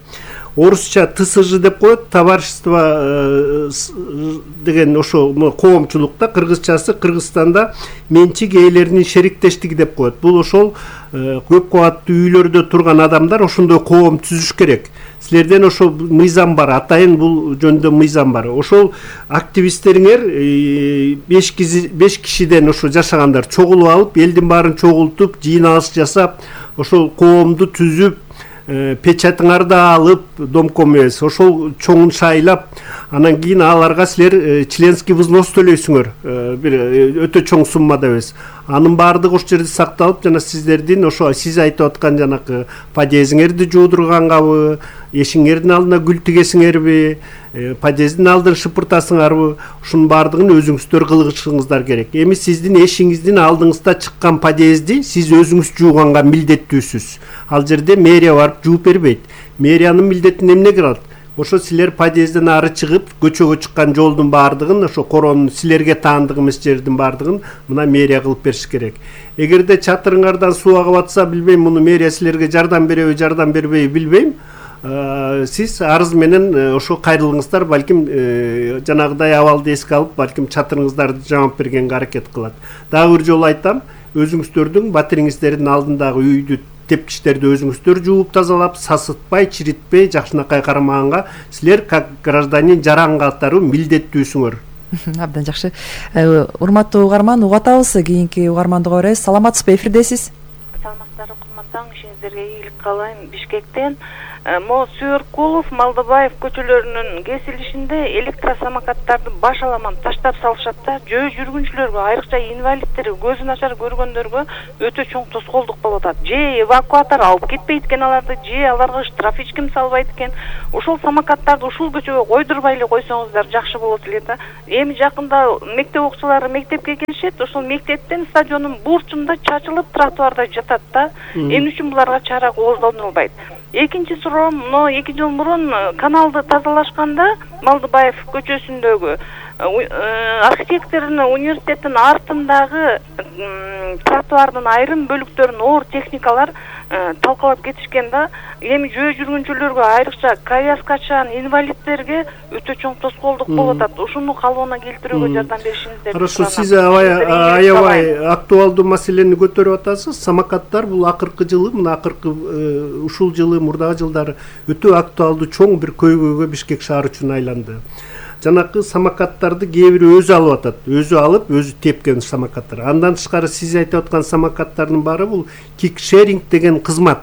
Орусча ТСЖ деп коет, товарищество деген ошо коомчулукта, кыргызчасы Кыргызстанда менчик ээлеринин шериктештиги деп коет. Бул ошол көп кабаттуу үйлөрдө турган адамдар ошондой коом түзүш керек. Силерден ошо мыйзам бар, атайын бул жөнүндө мыйзам бар. Ошол активисттериңер 5 кишиден ошо жашагандар чогулуп алып, элдин баарын чогултуп, жыйналыш жасап, ошол коомду түзүп, печатыңарды алып, домком эмес, ошол чоңун шайлап, анан кийин аларга силер членский взнос төлөйсүңөр, бир өтө чоң суммада эмес. Анын баардыгы ошол жерде сакталып, жана сиздердин ошо сиз айтып аткан жанакы подъездиңерди жуудургангабы, эшиңердин алдына гүл тигесиңерби, подъездин алдын шыпыртасыңарбы, ушунун баардыгын өзүңүздөр кылышыңыздар керек. Эми сиздин эшиңиздин алдыңызда чыккан подъезди сиз өзүңүз жууганга милдеттүүсүз. Ал жерде мэрия барып жууп бербейт. Мэриянын милдетин эмне кылат? Ошо силер подъезден ары чыгып, көчөгө чыккан жолдун баардыгын, ошо коронун силерге таандык эмес жердин баардыгын мына мэрия кылып бериш керек. Эгерде чатырыңардан суу агып атса, билбейм, муну мэрия силерге жардам береби, жардам бербейби билбейм. Сиз арыз менен ошо кайрылыңыздар, балким жанагыдай абалды эске алып, балким чатырыңыздарды жамап бергенге аракет кылат. Дагы бир жолу айтам, өзүңүздөрдүн батириңиздердин алдындагы үйдү, тепкичтерди өзүңүздөр жууп тазалап, сасытпай, чиритпей, жакшынакай карамаганга силер как гражданин жаран катары милдеттүүсүңөр. Абдан жакшы. Урматтуу угарман, угуп атабыз. Кийинки угарманды уга беребиз. Саламатсызбы? Эфирдесиз. саламатсыздарбы курман, ишиңиздерге ийгилик каалайм. Бишкектен Мо Сүйөркулов, Малдыбаев көчөлөрүнүн кесилишинде электросамокаттарды баш аламан таштап салышат да, жөө жүргүнчүлөргө, айрыкча инвалидтерге, көзү начар көргөндөргө өтө чоң тоскоолдук болуп атат. Же эвакуатор алып кетпейт экен аларды, же аларга штраф эч ким салбайт экен. Ошол самокаттарды ушул көчөгө койдурбай эле койсоңуздар жакшы болот эле да. Эми жакында мектеп окуучулары мектепке келишет, ошол мектептен стадиондун бурчунда чачылып тротуарда жатат да. Эмне үчүн буларга чара колдонулбайт? Экинчи суроом, 2 жыл мурун каналды тазалашканда Малдыбаев көчөсүндөгү архитектурный университеттин артындагы тротуардын айрым бөлүктөрүн оор техникалар талкалап кетишкен да. Эми жөө жүргүнчүлөргө, айрыкча коляскачан инвалидтерге өтө чоң тоскоолдук болуп атат. Ушуну калыбына келтирүүгө жардам беришиңиздерди. Хорошо, сиз аябай актуалдуу маселени көтөрүп атасыз. Самокаттар бул акыркы жылы, мына акыркы ушул жылы, мурдагы жылдары өтө актуалдуу чоң бир көйгөйгө Бишкек шаары үчүн айланды. Жанакы самокаттарды кээ бири өзү алып атат, өзү алып, өзү тепкен самокаттар. Андан тышкары сиз айтып аткан самокаттардын баары бул кикшеринг деген кызмат.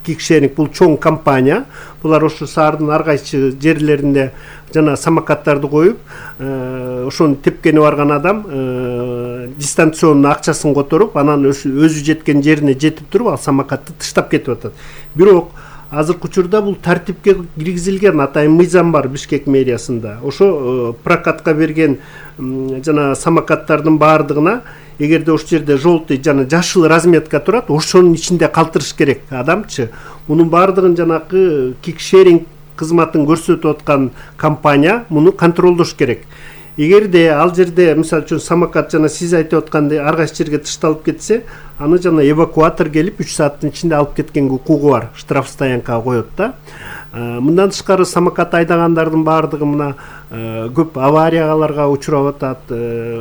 Кикшеринг бул чоң компания. Булар ошо шаардын ар кайсы жерлеринде жана самокаттарды коюп, ошону тепкени барган адам дистанционный акчасын которуп, анан өзү жеткен жерине жетип туруп, ал самокатты таштап кетип атат. Бирок азыркы учурда бул тартипке киргизилген, атайын мыйзам бар Бишкек мэриясында. Ошо прокатка берген жана самокаттардын баардыгына, эгерде ошол жерде желтый жана жашыл разметка турат, ошонун ичинде калтырыш керек адамчы. Мунун баардыгын жанакы кикшеринг кызматын көрсөтүп аткан компания муну контролдош керек. Эгерде ал жерде, мисалы үчүн, самокат жана сиз айтып аткандай ар кайсы жерге ташталып кетсе, аны жана эвакуатор келип 3 сааттын ичинде алып кеткенге укугу бар, штраф стоянкага коет да. Мындан тышкары самокат айдагандардын баардыгы мына көп аварияларга учурап атат,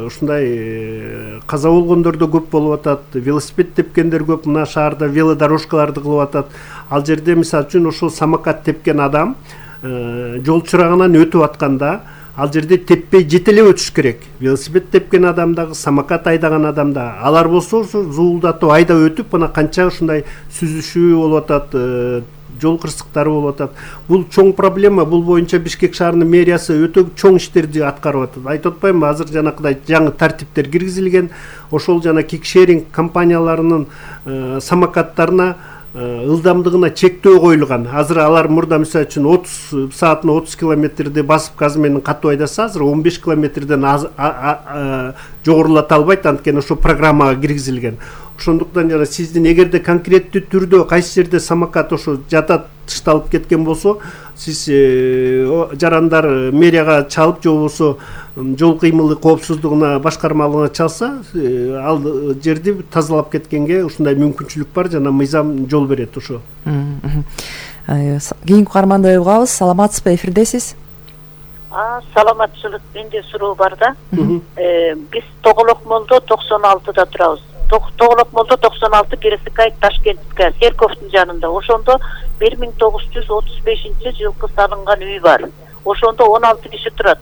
ушундай каза болгондор да көп болуп атат, велосипед тепкендер көп, мына шаарда велодорожкаларды кылып атат. Ал жерде мисалы үчүн ошол самокат тепкен адам жол чырагынан өтүп атканда ал жерде теппей жетелеп өтүш керек. Велосипед тепкен адам дагы, самокат айдаган адам да. Алар болсо зуулдатып айдап өтүп, мына канча ушундай сүзүшүү болуп атат, жол кырсыктары болуп атат. Бул чоң проблема. Бул боюнча Бишкек шаарынын мэриясы өтө чоң иштерди аткарып атат. Айтып атпаймынбы, азыр жанакыдай жаңы тартиптер киргизилген. Ошол жана кикшеринг компанияларынын самокаттарына ылдамдыгына чектөө коюлган. Азыр алар мурда мисалы үчүн 30 саатына 30 километрди басып газ менен катуу айдаса, азыр 15 километрден жогорулата албайт, анткени ошо программага киргизилген. Ошондуктан жана сиздин эгерде конкреттүү түрдө кайсы жерде самокат ошо жатат, ташталып кеткен болсо, сиз жарандар мэрияга чалып, же болбосо жол кыймылы коопсуздугуна башкармалыгына чалса, ал жерди тазалап кеткенге ушундай мүмкүнчүлүк бар, жана мыйзам жол берет ошо. Кийинки каарманды угабыз. Саламатсызбы, эфирдесиз? Саламатчылык, менде суроо бар да. Биз Тоголок молдо 96-да турабыз. Тоголок молдо 96, Кересикай, Ташкентке, Серковдун жанында. Ошондо 1935-жылкы салынган үй бар. Ошондо 16 киши турат.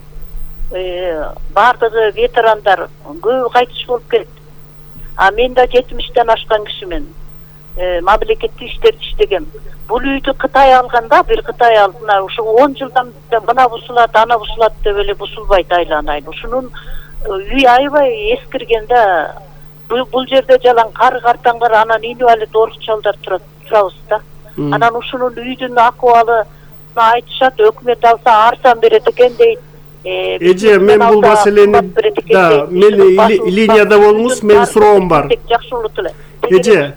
Бардыгы ветерандар, көбү кайтыш болуп кетти. Мен да 70-тен ашкан кишимен. Мамлекеттик иштерди иштегем. Бул үйдү Кытай алганда, бир Кытай алдына ушу 10 жылдан мына бусулат, ана бусулат деп эле бусулбайт айланайын. Ушунун үй аябай эскирген да. Бул жерде жалаң кар картаңдар, анан инвалид орукчалдар турабыз да. Анан ушунун үйдүн акыбалы айтышат, өкмөт алса арзан берет экен дейт. Эже, мен бул маселени да, мен линияда болуңуз, менин суроом бар. Жакшылык эле. Эже,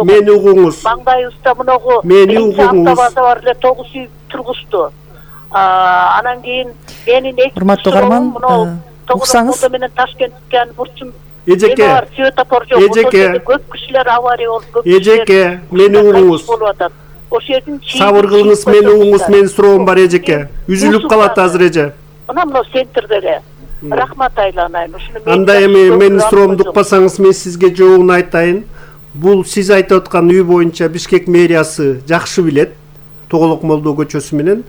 мени угуңуз. Маңдайыбызда муногу мени угуңуз. Автобаза бар эле, 9 үй тургузду. Анан кийин менин урматтуу каарман, уксаңыз. Менен Ташкентке бурчун Эжеке, көп кишилер авария болуп, эжеке, мени угуңуз. Сабыр кылыңыз, мени угуңуз, менин суроом бар, эжеке. Үзүлүп калат азыр, эже. Мына центрде эле. Рахмат айланайын. Анда эми менин суроомду укпасаңыз, мен сизге жообун айтайын. Бул сиз айтып аткан үй боюнча Бишкек мэриясы жакшы билет. Тоголок молдо көчөсү менен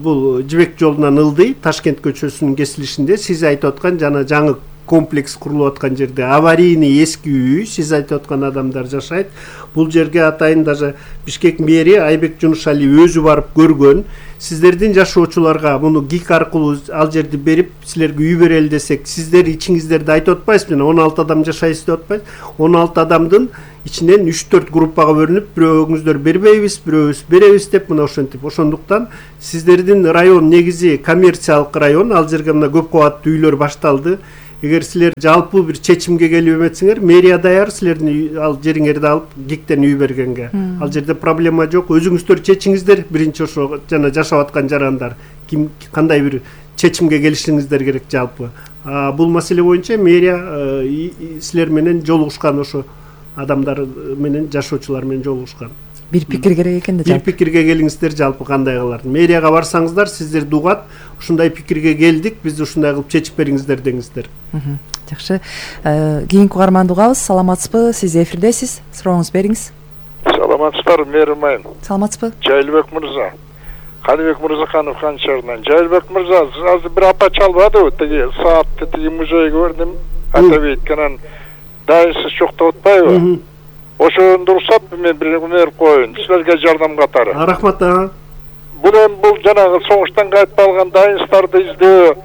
бул Жибек жолунан ылдый, Ташкент көчөсүнүн кесилишинде сиз айтып аткан жана жаңы комплекс курулуп аткан жерде аварийный эски үй, сиз айтып аткан адамдар жашайт. Бул жерге атайын даже Бишкек мэри Айбек Жунушалиев өзү барып көргөн. Сиздердин жашоочуларга муну ГИК аркылуу ал жерди берип, силерге үй берели десек, сиздер ичиңиздерде айтып атпайсызбы? 16 адам жашайсыз деп атпайсыз? 16 адамдын ичинен 3-4 группага бөлүнүп, бирөөңүздөр бербейбиз, бирөөбүз беребиз деп мына ошентип. Ошондуктан сиздердин район негизи коммерциялык район, ал жерге мына көп кабаттуу үйлөр башталды. Эгер силер жалпы бир чечимге келип эметсеңер, мэрия даяр силердин ал жериңерди алып ГИКтен үй бергенге. Ал жерде проблема жок. Өзүңүздөр чечиңиздер. Биринчи ошо жана жашап аткан жарандар ким кандай бир чечимге келишиңиздер керек жалпы. Бул маселе боюнча мэрия силер менен жолугушкан, ошо адамдар менен жашоочулар менен жолугушкан. Бир пикир керек экен да. Бир пикирге келиңиздер жалпы кандай кылар. Мэрияга барсаңыздар, сиздерди угат, ушундай пикирге келдик, бизди ушундай кылып чечип бериңиздер деңиздер. Жакшы. Кийинки угарманды угабыз. Саламатсызбы? Сиз эфирдесиз. Сурооңузду бериңиз. Саламатсызбы, Мээрмайын. Саламатсызбы? Жайлыбек мырза. Каныбек Мырзаханов Канчарынан. Жайлыбек мырза, азыр бир апа чалбадыбы? Тиги саатты тиги музейге көрдүм. Атабейт канан дайынсыз чоктоп атпайбы? Ошондо уруксат мен бир өнөр коюн. Силерге жардам катары. Рахмат. Бул жанагы согуштан кайтып алган дайынстарды издөө,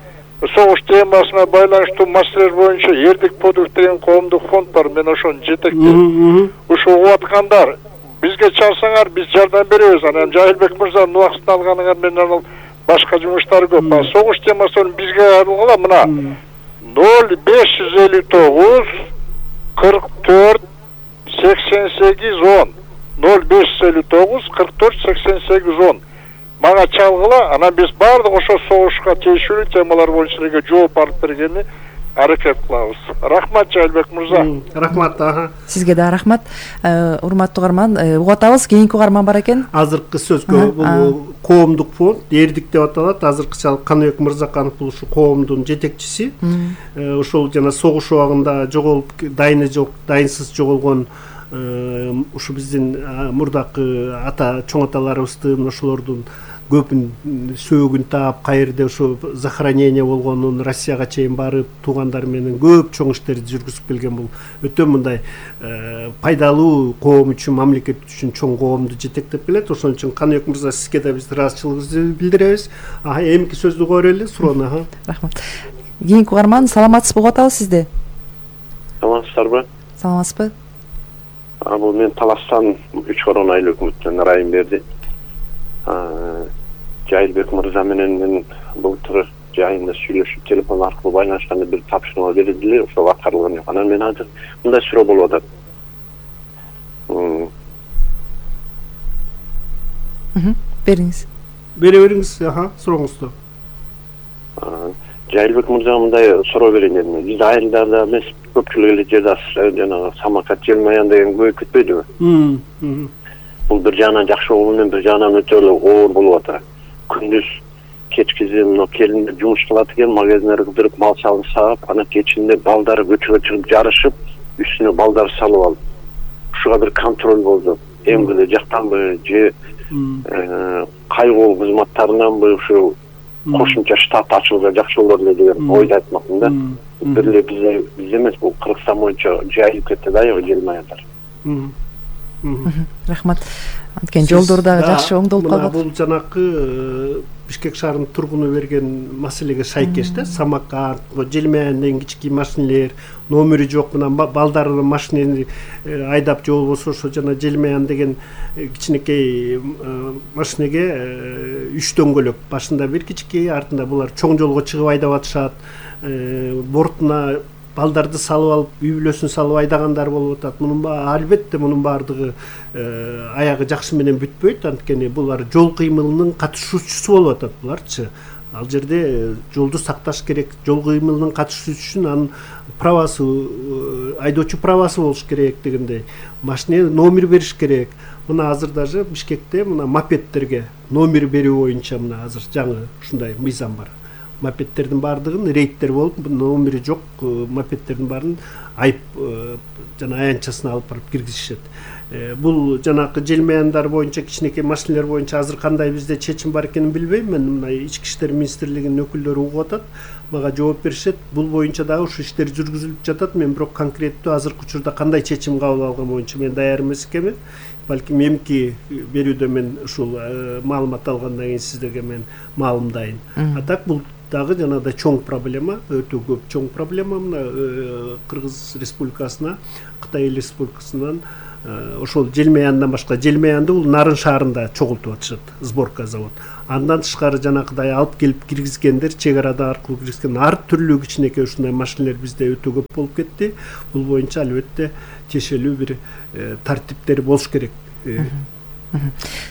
согуш темасына байланыштуу маселелер боюнча Эрдик продукт деген коомдук фонд бар. Мен ошону жетектейм. Ушул угуп аткандар, бизге чалсаңар, биз жардам беребиз. Анан Жайлыбек мырзанын убактысын алганыңар менен анан башка жумуштар көп. Согуш темасын бизге алгыла мына 0559 44 8810 0559 44 8810 мага чалгыла, анан биз баардык ошо согушка тийиштүү темалар боюнча силерге жооп алып бергени аракет кылабыз. Рахмат Жайлыбек мырза. Рахмат. Сизге да рахмат. Урматтуу угарман, угатабыз, кийинки угарман бар экен. Азыркы сөзгө бул коомдук фонд Эрдик деп аталат. Азыркыча Каныбек Мырзаканов бул ушу коомдун жетекчиси. Ошол жана согуш убагында жоголуп, дайыны жок, дайынсыз жоголгон ушу биздин мурдакы ата чоң аталарыбыздын ошолордун көпүн сөөгүн таап, кайерде ошо захоронение болгонун Россияга чейин барып, туугандар менен көп чоң иштерди жүргүзүп келген. Бул өтө мындай пайдалуу коом үчүн, мамлекет үчүн чоң коомду жетектеп келет. Ошон үчүн Каныбек мырза, сизге да биз ыраазычылыгыбызды билдиребиз. Эмки сөздү уга берели, суроону. Рахмат. Кийинки угарман, саламатсызбы? Угатабыз сизди. Саламатсыздарбы? Саламатсызбы? Бул мен Таластан 3 корон айыл өкмөттөн ырайым берди. Жайлыбек мырза менен мен былтыр жайында сүйлөшүп, телефон аркылуу байланышканда бир тапшырма берилди, ошол аткарылган жок. Анан мен азыр мындай суроо болуп атат. Бериңиз. Бере бериңиз, сурооңузду. Жайлыбек мырза, мындай суроо берейин дедим. Биз айылдарда эмес, көпчүлүк эле жерде жанагы самокат желмаян деген көбөйүп кетпейдиби? Бул бир жагынан жакшы болуп менен бир жагынан өтө эле оор болуп атат. Күндүз кечкизи мына келиндер жумуш кылат экен, магазиндерди кыдырып мал чалып саап, анан кечинде балдары көчөгө чыгып жарышып, үстүнө балдар салып алып. Ушуга бир контроль болду. МВД жактанбы же кайгоо кызматтарынанбы ушу кошумча штат ачылса жакшы болор эле деген ойду айтмакмын да. Бир эле биз эмес, бул Кыргызстан боюнча жайылып кетти да желмаяндар. Рахмат. Анткени жолдор дагы жакшы оңдолуп калат. Бул жанакы Бишкек шаарынын тургуну берген маселеге шайкеш да. Самокат, желмаян деген кички машинелер, номери жок, мына балдары машинени айдап же болбосо ошо жана желмаян деген кичинекей машинеге 3 дөңгөлөк, башында бир кички, артында булар чоң жолго чыгып айдап атышат. Бортуна балдарды салып алып, үй бүлөсүн салып айдагандар болуп атат. Албетте мунун баардыгы аягы жакшы менен бүтпөйт, анткени булар жол кыймылынын катышуучусу болуп атат буларчы. Ал жерде жолду сакташ керек, жол кыймылынын катышуучусу үчүн анын правасы, айдоочу правасы болуш керек дегендей. Машине номер бериш керек. Мына азыр даже Бишкекте мына мопедтерге номер берүү боюнча мына азыр жаңы ушундай мыйзам бар. Мопедтердин баардыгын рейдтер болуп, номери жок мопедтердин баарын айып жана аянтчасына алып барып киргизишет. Бул жанакы желмаяндар боюнча, кичинекей машинелер боюнча азыр кандай бизде чечим бар экенин билбейм. Мен мына Ички иштер министрлигинин өкүлдөрү угуп атат, мага жооп беришет. Бул боюнча дагы ушу иштер жүргүзүлүп жатат. Мен бирок конкреттүү азыркы учурда кандай чечим кабыл алган боюнча мен даяр эмес экенмин. Балким эмки берүүдө мен ушул маалымат алгандан кийин сиздерге мен маалымдайын. А так бул дагы жанагыдай чоң проблема, өтө көп чоң проблема. Мына Кыргыз Республикасына, Кытай Эл Республикасынан ошол желмаяндан башка, желмаянды бул Нарын шаарында чогултуп атышат, сборка завод. Андан тышкары жанагыдай алып келип киргизгендер, чек арада аркылуу киргизген ар түрлүү кичинекей ушундай машинелер бизде өтө көп болуп кетти. Бул боюнча албетте тиешелүү бир тартиптер болуш керек.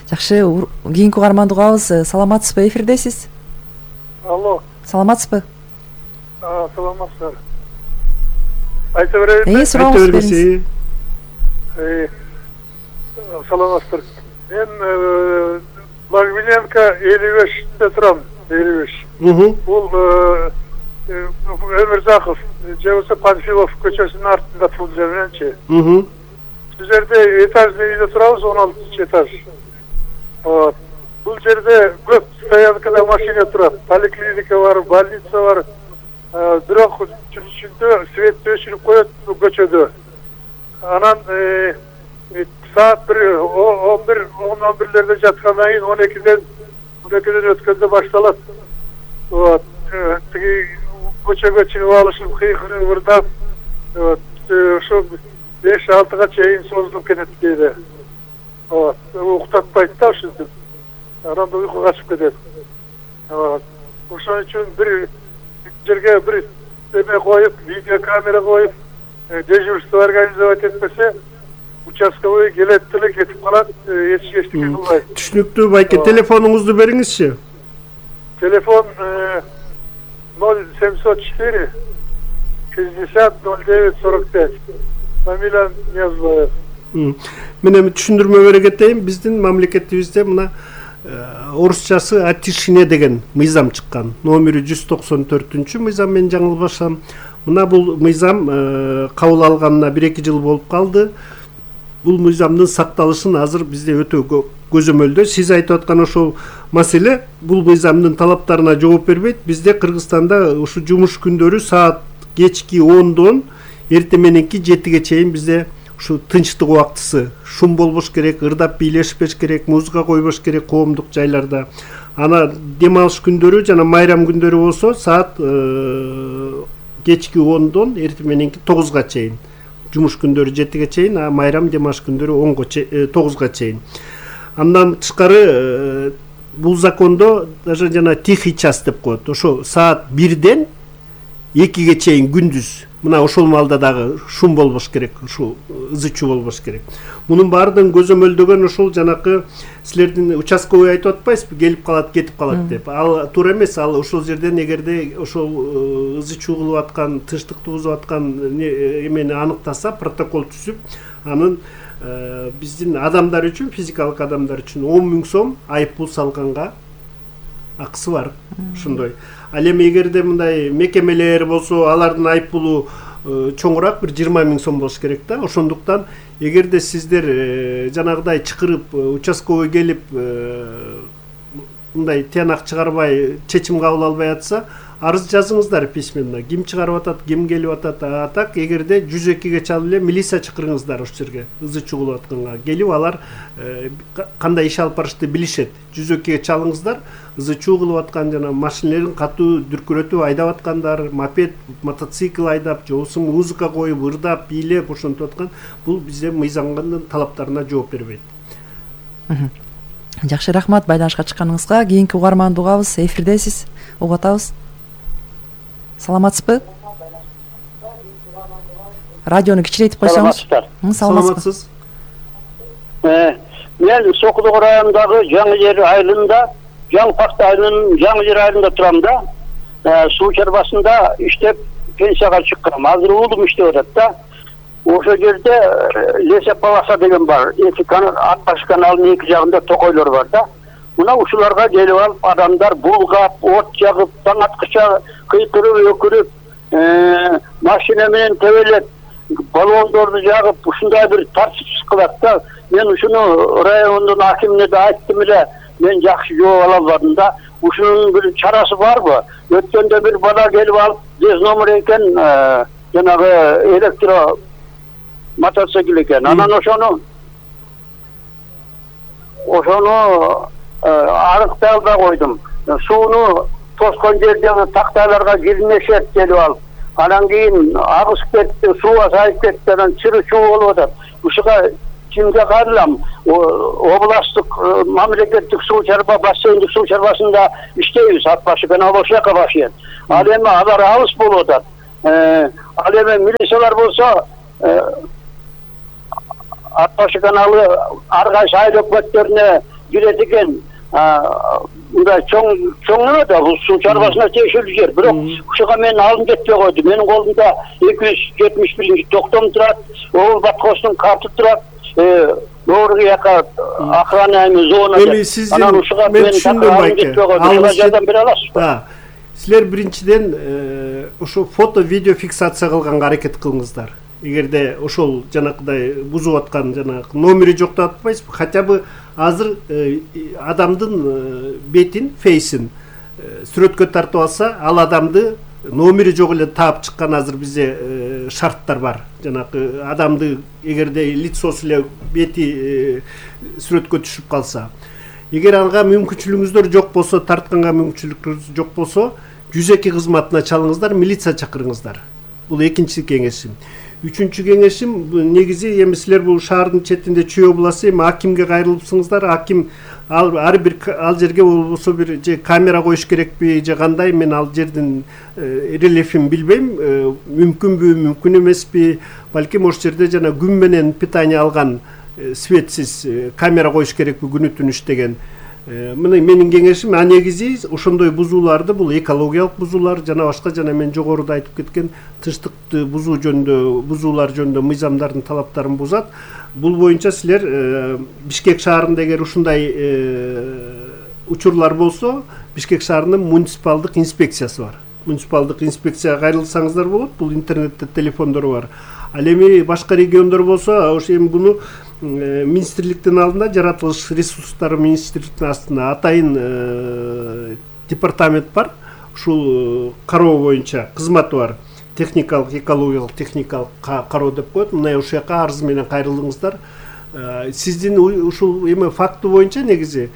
Жакшы, кийинки угарманды угабыз. Саламатсызбы, эфирдесиз? Алло. Саламатсызбы? Саламатсыздар. Айта берейинби? Сурооңузду бериңиз. Саламатсыздар. Мен Лагвиненко 55-те турам, 55. Бул Өмүрзаков же болбосо Панфилов көчөсүнүн артында бул жерденчи. Бул жерде этажный үйдө турабыз, 16 этаж. Бул жерде көп стоянкада машина турат, поликлиника бар, больница бар. Бирок түнүшүндө свет өчүрүп коет көчөдө. Анан саат 11-11-лерде жаткандан кийин 12-ден өткөндө башталат. Тиги көчөгө чыгып алышып, кыйкырып ырдап, ошо 5-6-га чейин созулуп кетет кээде. Уктатпайт да ушинтип. Анан уйку качып кетет. Ошон үчүн бир жерге бир эме коюп, видеокамера коюп, дежурство организовать этпесе, участковый келет деле кетип калат, эчтеке кылбайт. Түшүнүктүү, байке, телефонуңузду бериңизчи. Телефон 0704 60 09 45. Фамилия Ниязбаев. Мен эми түшүндүрмө бере кетейин. Биздин мамлекетибизде мына орусчасы Атишине деген мыйзам чыккан. Номери 194-чү мыйзам, мен жаңылбасам. Мына бул мыйзам кабыл алганына 1-2 жыл болуп калды. Бул мыйзамдын сакталышын азыр бизде өтө көзөмөлдө. Сиз айтып аткан ошол маселе бул мыйзамдын талаптарына жооп бербейт. Бизде Кыргызстанда ушу жумуш күндөрү саат кечки 10-дон эртең мененки 7-ге чейин бизде ушу тынчтык убактысы, шум болбош керек, ырдап бийлешпеш керек, музыка койбош керек коомдук жайларда. Ана дем алыш күндөрү жана майрам күндөрү болсо саат кечки 10-дон эртең мененки 9-га чейин. Жумуш күндөрү 7-ге чейин, а майрам дем алыш күндөрү 9-га чейин. Андан тышкары бул закондо даже жана тихий час деп коет. Ошо саат 1-ден 2-ге чейин күндүз. Мына ошол маалда дагы шум болбош керек, ушу ызы чуу болбош керек. Мунун баардыгын көзөмөлдөгөн ошол жанакы силердин участковый айтып атпайсызбы, келип калат, кетип калат деп. Ал туура эмес, ал ошол жерден эгерде ошол ызы чуу кылып аткан, тынчтыкты бузуп аткан эмени аныктаса, протокол түзүп, анын биздин адамдар үчүн, физикалык адамдар үчүн 10 000 сом айып пул салганга акысы бар. Ошондой. Ал эми эгерде мындай мекемелер болсо, алардын айып пулу чоңураак, бир 20 000 сом болуш керек да. Ошондуктан эгерде сиздер жанагыдай чакырып, участковый келип мындай тыянак чыгарбай, чечим кабыл албай атса, арыз жазыңыздар письменно. Ким чыгарып атат, ким келип атат. А так эгерде 102-ге чалып эле милиция чакырыңыздар ошол жерге, ызы чуу кылып атканга. Келип алар кандай иш алып барышты билишет. 102-ге чалыңыздар. Ызы чуу кылып аткан жана машинелерин катуу дүркүрөтүп айдап аткандар, мопед, мотоцикл айдап, же болбосо музыка коюп, ырдап, бийлеп ошентип аткан, бул бизде мыйзамдын талаптарына жооп бербейт. Жакшы, рахмат байланышка чыкканыңызга. Кийинки угарманды угабыз, эфирдесиз. Угуп атабыз. Саламатсызбы? Радиону кичирейтип койсоңуз. Саламатсыз. Мен Сокулук районундагы Жаңы Жер айылында, Жаңпакты айылынын Жаңы Жер айылында турам да. Суу чарбасында иштеп пенсияга чыккам. Азыр уулум иштеп атат да. Ошол жерде Лесеп Паласа деген бар. Атбаш каналынын эки жагында токойлор бар да. Мына ушуларга келип алып адамдар булгап, от жагып, таң аткыча кыйкырып, өкүрүп, машина менен тебелеп, баллондорду жагып, ушундай бир тартипсиз кылат да. Мен ушуну райондун акимине да айттым эле. Мен жакшы жооп ала албадым да. Ушунун бир чарасы барбы? Өткөндө бир бала келип алып, дез номер экен, жанагы электро мотоцикл экен. Анан ошону арыктап да койдум. Сууну тоскон жердеги тактайларга кирмешет делип алып. Анан кийин агысып кетти, сууга сайып кетти, анан чыры чуу болуп атат. Ушуга кимге кайрылам? Областтык мамлекеттик суу чарба, бассейндик суу чарбасында иштейбиз, ат башы канал ошол жака башыйт. Ал эми алар алыс болуп атат. Ал эми милициялар болсо ат башы каналы ар кайсы айыл өкмөттөрүнө кирет экен. Мындай чоң эме да, бул суу чарбасына тиешелүү жер. Бирок ушуга мен алым жетпей койду. Менин колумда 271-токтом турат, Обул Баткостун карты турат. Doğru yaka охраняемый зона. Анан ушуга мен алым жетпей койду. Ушуга жардам бере аласызбы? Силер биринчиден ошо фото видео фиксация кылганга аракет кылыңыздар. Эгерде ошол жанакыдай бузуп аткан жанагы номери жок деп атпайсызбы? Хотя бы азыр адамдын бетин, фейсин сүрөткө тартып алса, ал адамды номери жок эле таап чыккан азыр бизде шарттар бар. Жанагы адамды эгерде лицосу эле бети сүрөткө түшүп калса, эгер ага мүмкүнчүлүгүңүздөр жок болсо, тартканга мүмкүнчүлүгүңүз жок болсо, 102 кызматына чалыңыздар, милиция чакырыңыздар. Бул экинчи кеңешим. Үчүнчү кеңешим, негизи эми силер бул шаардын четинде Чүй областы, эми акимге кайрылыпсыңыздар. Аким ар бир ал жерге болбосо бир же камера коюш керекпи, же кандай, мен ал жердин рельефин билбейм. Мүмкүнбү, мүмкүн эмеспи? Балким ошол жерде жана күн менен питание алган светсиз камера коюш керекпи, күнү түнү иштеген. Мына менин кеңешим, негизи ошондой бузууларды, бул экологиялык бузуулар, жана башка, жана мен жогоруда айтып кеткен тынчтыкты бузуу жөнүндө, бузуулар жөнүндө мыйзамдардын талаптарын бузат. Бул боюнча силер Бишкек шаарында эгер ушундай учурлар болсо, Бишкек шаарынын муниципалдык инспекциясы бар. Муниципалдык инспекцияга кайрылсаңыздар болот. Бул интернетте телефондору бар. Ал эми башка региондор болсо, ошо эми буну министрликтин алдында, жаратылыш ресурстары министрликтин астында атайын департамент бар. Ушул кароо боюнча кызматы бар. Техникалык, экологиялык, техникалык кароо деп коет. Мына ошол жака арыз менен кайрылыңыздар. Сиздин ушул эме факты боюнча негизи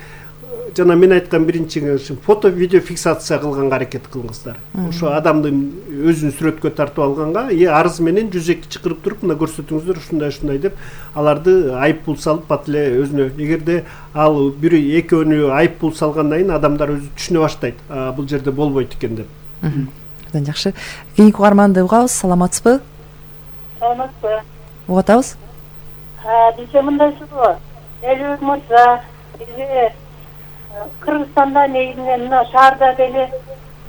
жана мен айткан биринчи кеңешим, фото видео фиксация кылганга аракет кылыңыздар. Ошо адамдын өзүн сүрөткө тартып алганга арыз менен 102 чакырып туруп, мына көрсөтүңүздөр ушундай деп аларды айыппул салып бат эле өзүнө. Эгерде ал бир экөөнү айыппул салгандан кийин адамдар өзү түшүнө баштайт, бул жерде болбойт экен деп. Абдан жакшы. Кийинки угарманды угабыз. Саламатсызбы? Саламатсызбы? Угуп атабыз. Бизде мындайсыз го. Элбек мырза, Кыргызстанда негизинен мына шаарда деле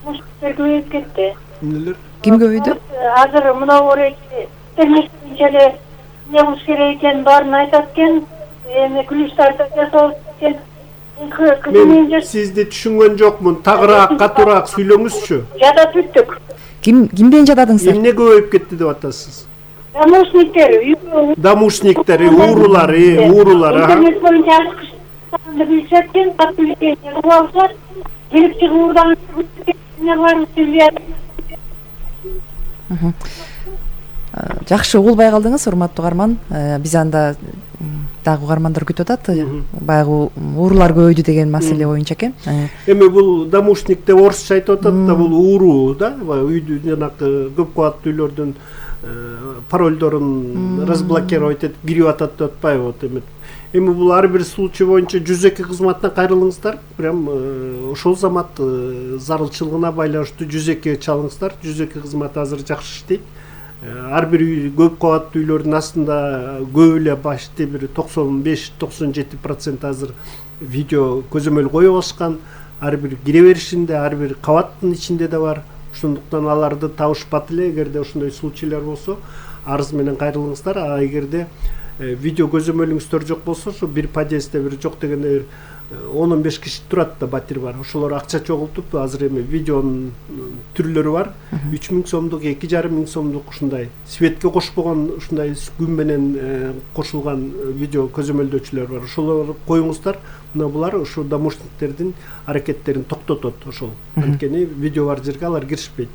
муштар көбөйүп кетти. Эмнелер? Ким көбөйдү? Азыр мына орайчы термешинче эле эмне кылыш керек экенин баарын айтат экен. Эми күлүштарды жасалып кеткен. Мен сизди түшүнгөн жокмун. Тагыраак, катуураак сүйлөңүзчү. Жадап бүттүк. Кимден жададыңыздар? Эмне көбөйүп кетти деп атасыз? Домушниктер, уурулар, интернет боюнча билишет экен, алышат, келип чыгып уурдан жакшы угулбай калдыңыз, урматтуу угарман. Биз анда дагы угармандар күтүп атат. Баягы уурулар көбөйдү деген маселе боюнча экен. Эми бул домушник деп орусча айтып атат да, бул ууруу да, үйдү жанагы көп кабаттуу үйлөрдүн парольдорун разблокировать этип кирип атат деп атпайбы? Вот эми бул ар бир случай боюнча 102 кызматына кайрылыңыздар. Прям ошол замат зарылчылыгына байланыштуу 102 чалыңыздар. 102 кызмат азыр жакшы иштейт. Ар бир үй, көп кабаттуу үйлөрдүн астында көп эле башты бир 95-97% азыр видео көзөмөл коюп алышкан. Ар бир кире беришинде, ар бир кабаттын ичинде да бар. Ошондуктан аларды табышпат эле. Эгерде ошондой случайлар болсо, арыз менен кайрылыңыздар. Эгерде видео көзөмөлүңүздөр жок болсо ушу бир подъездде бир жок дегенде 10-15 киши турат да, батир бар. Ошолор акча чогултуп азыр эми видеонун түрлөрү бар. 3000 сомдук, 2500 сомдук ушундай светке кошпогон ушундай күн менен кошулган видео көзөмөлдөөчүлөр бар. Ошолорду коюңуздар. Мына булар ушу домушниктердин аракеттерин токтотот ошол. Анткени видео бар жерге алар киришпейт.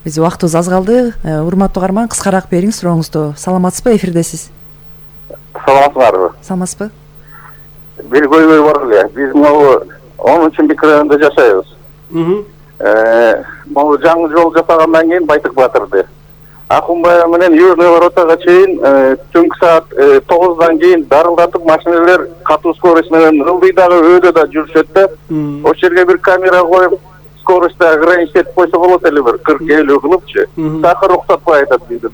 Биз убактыбыз аз калды. Урматтуу угарман, кыскараак бериңиз сурооңузду. Саламатсызбы, эфирдесиз? Саламатсыздарбы? Саламатсызбы? Бир көйгөй бар эле. Биз могу 10-чы микрорайондо жашайбыз. Могу жаңы жол жасагандан кийин Байтык Батырды. Акунбай менен Южный воротага чейин түнкү саат 9-дан кийин дарылдатып машиналар катуу скорость менен ылдый дагы өйдө да жүрүшөт да. Ошол жерге бир камера коюп, скоростьты ограничить этип койсо болот эле, бир 40-50 кылыпчы. Такыр уктатпай айтат бизди.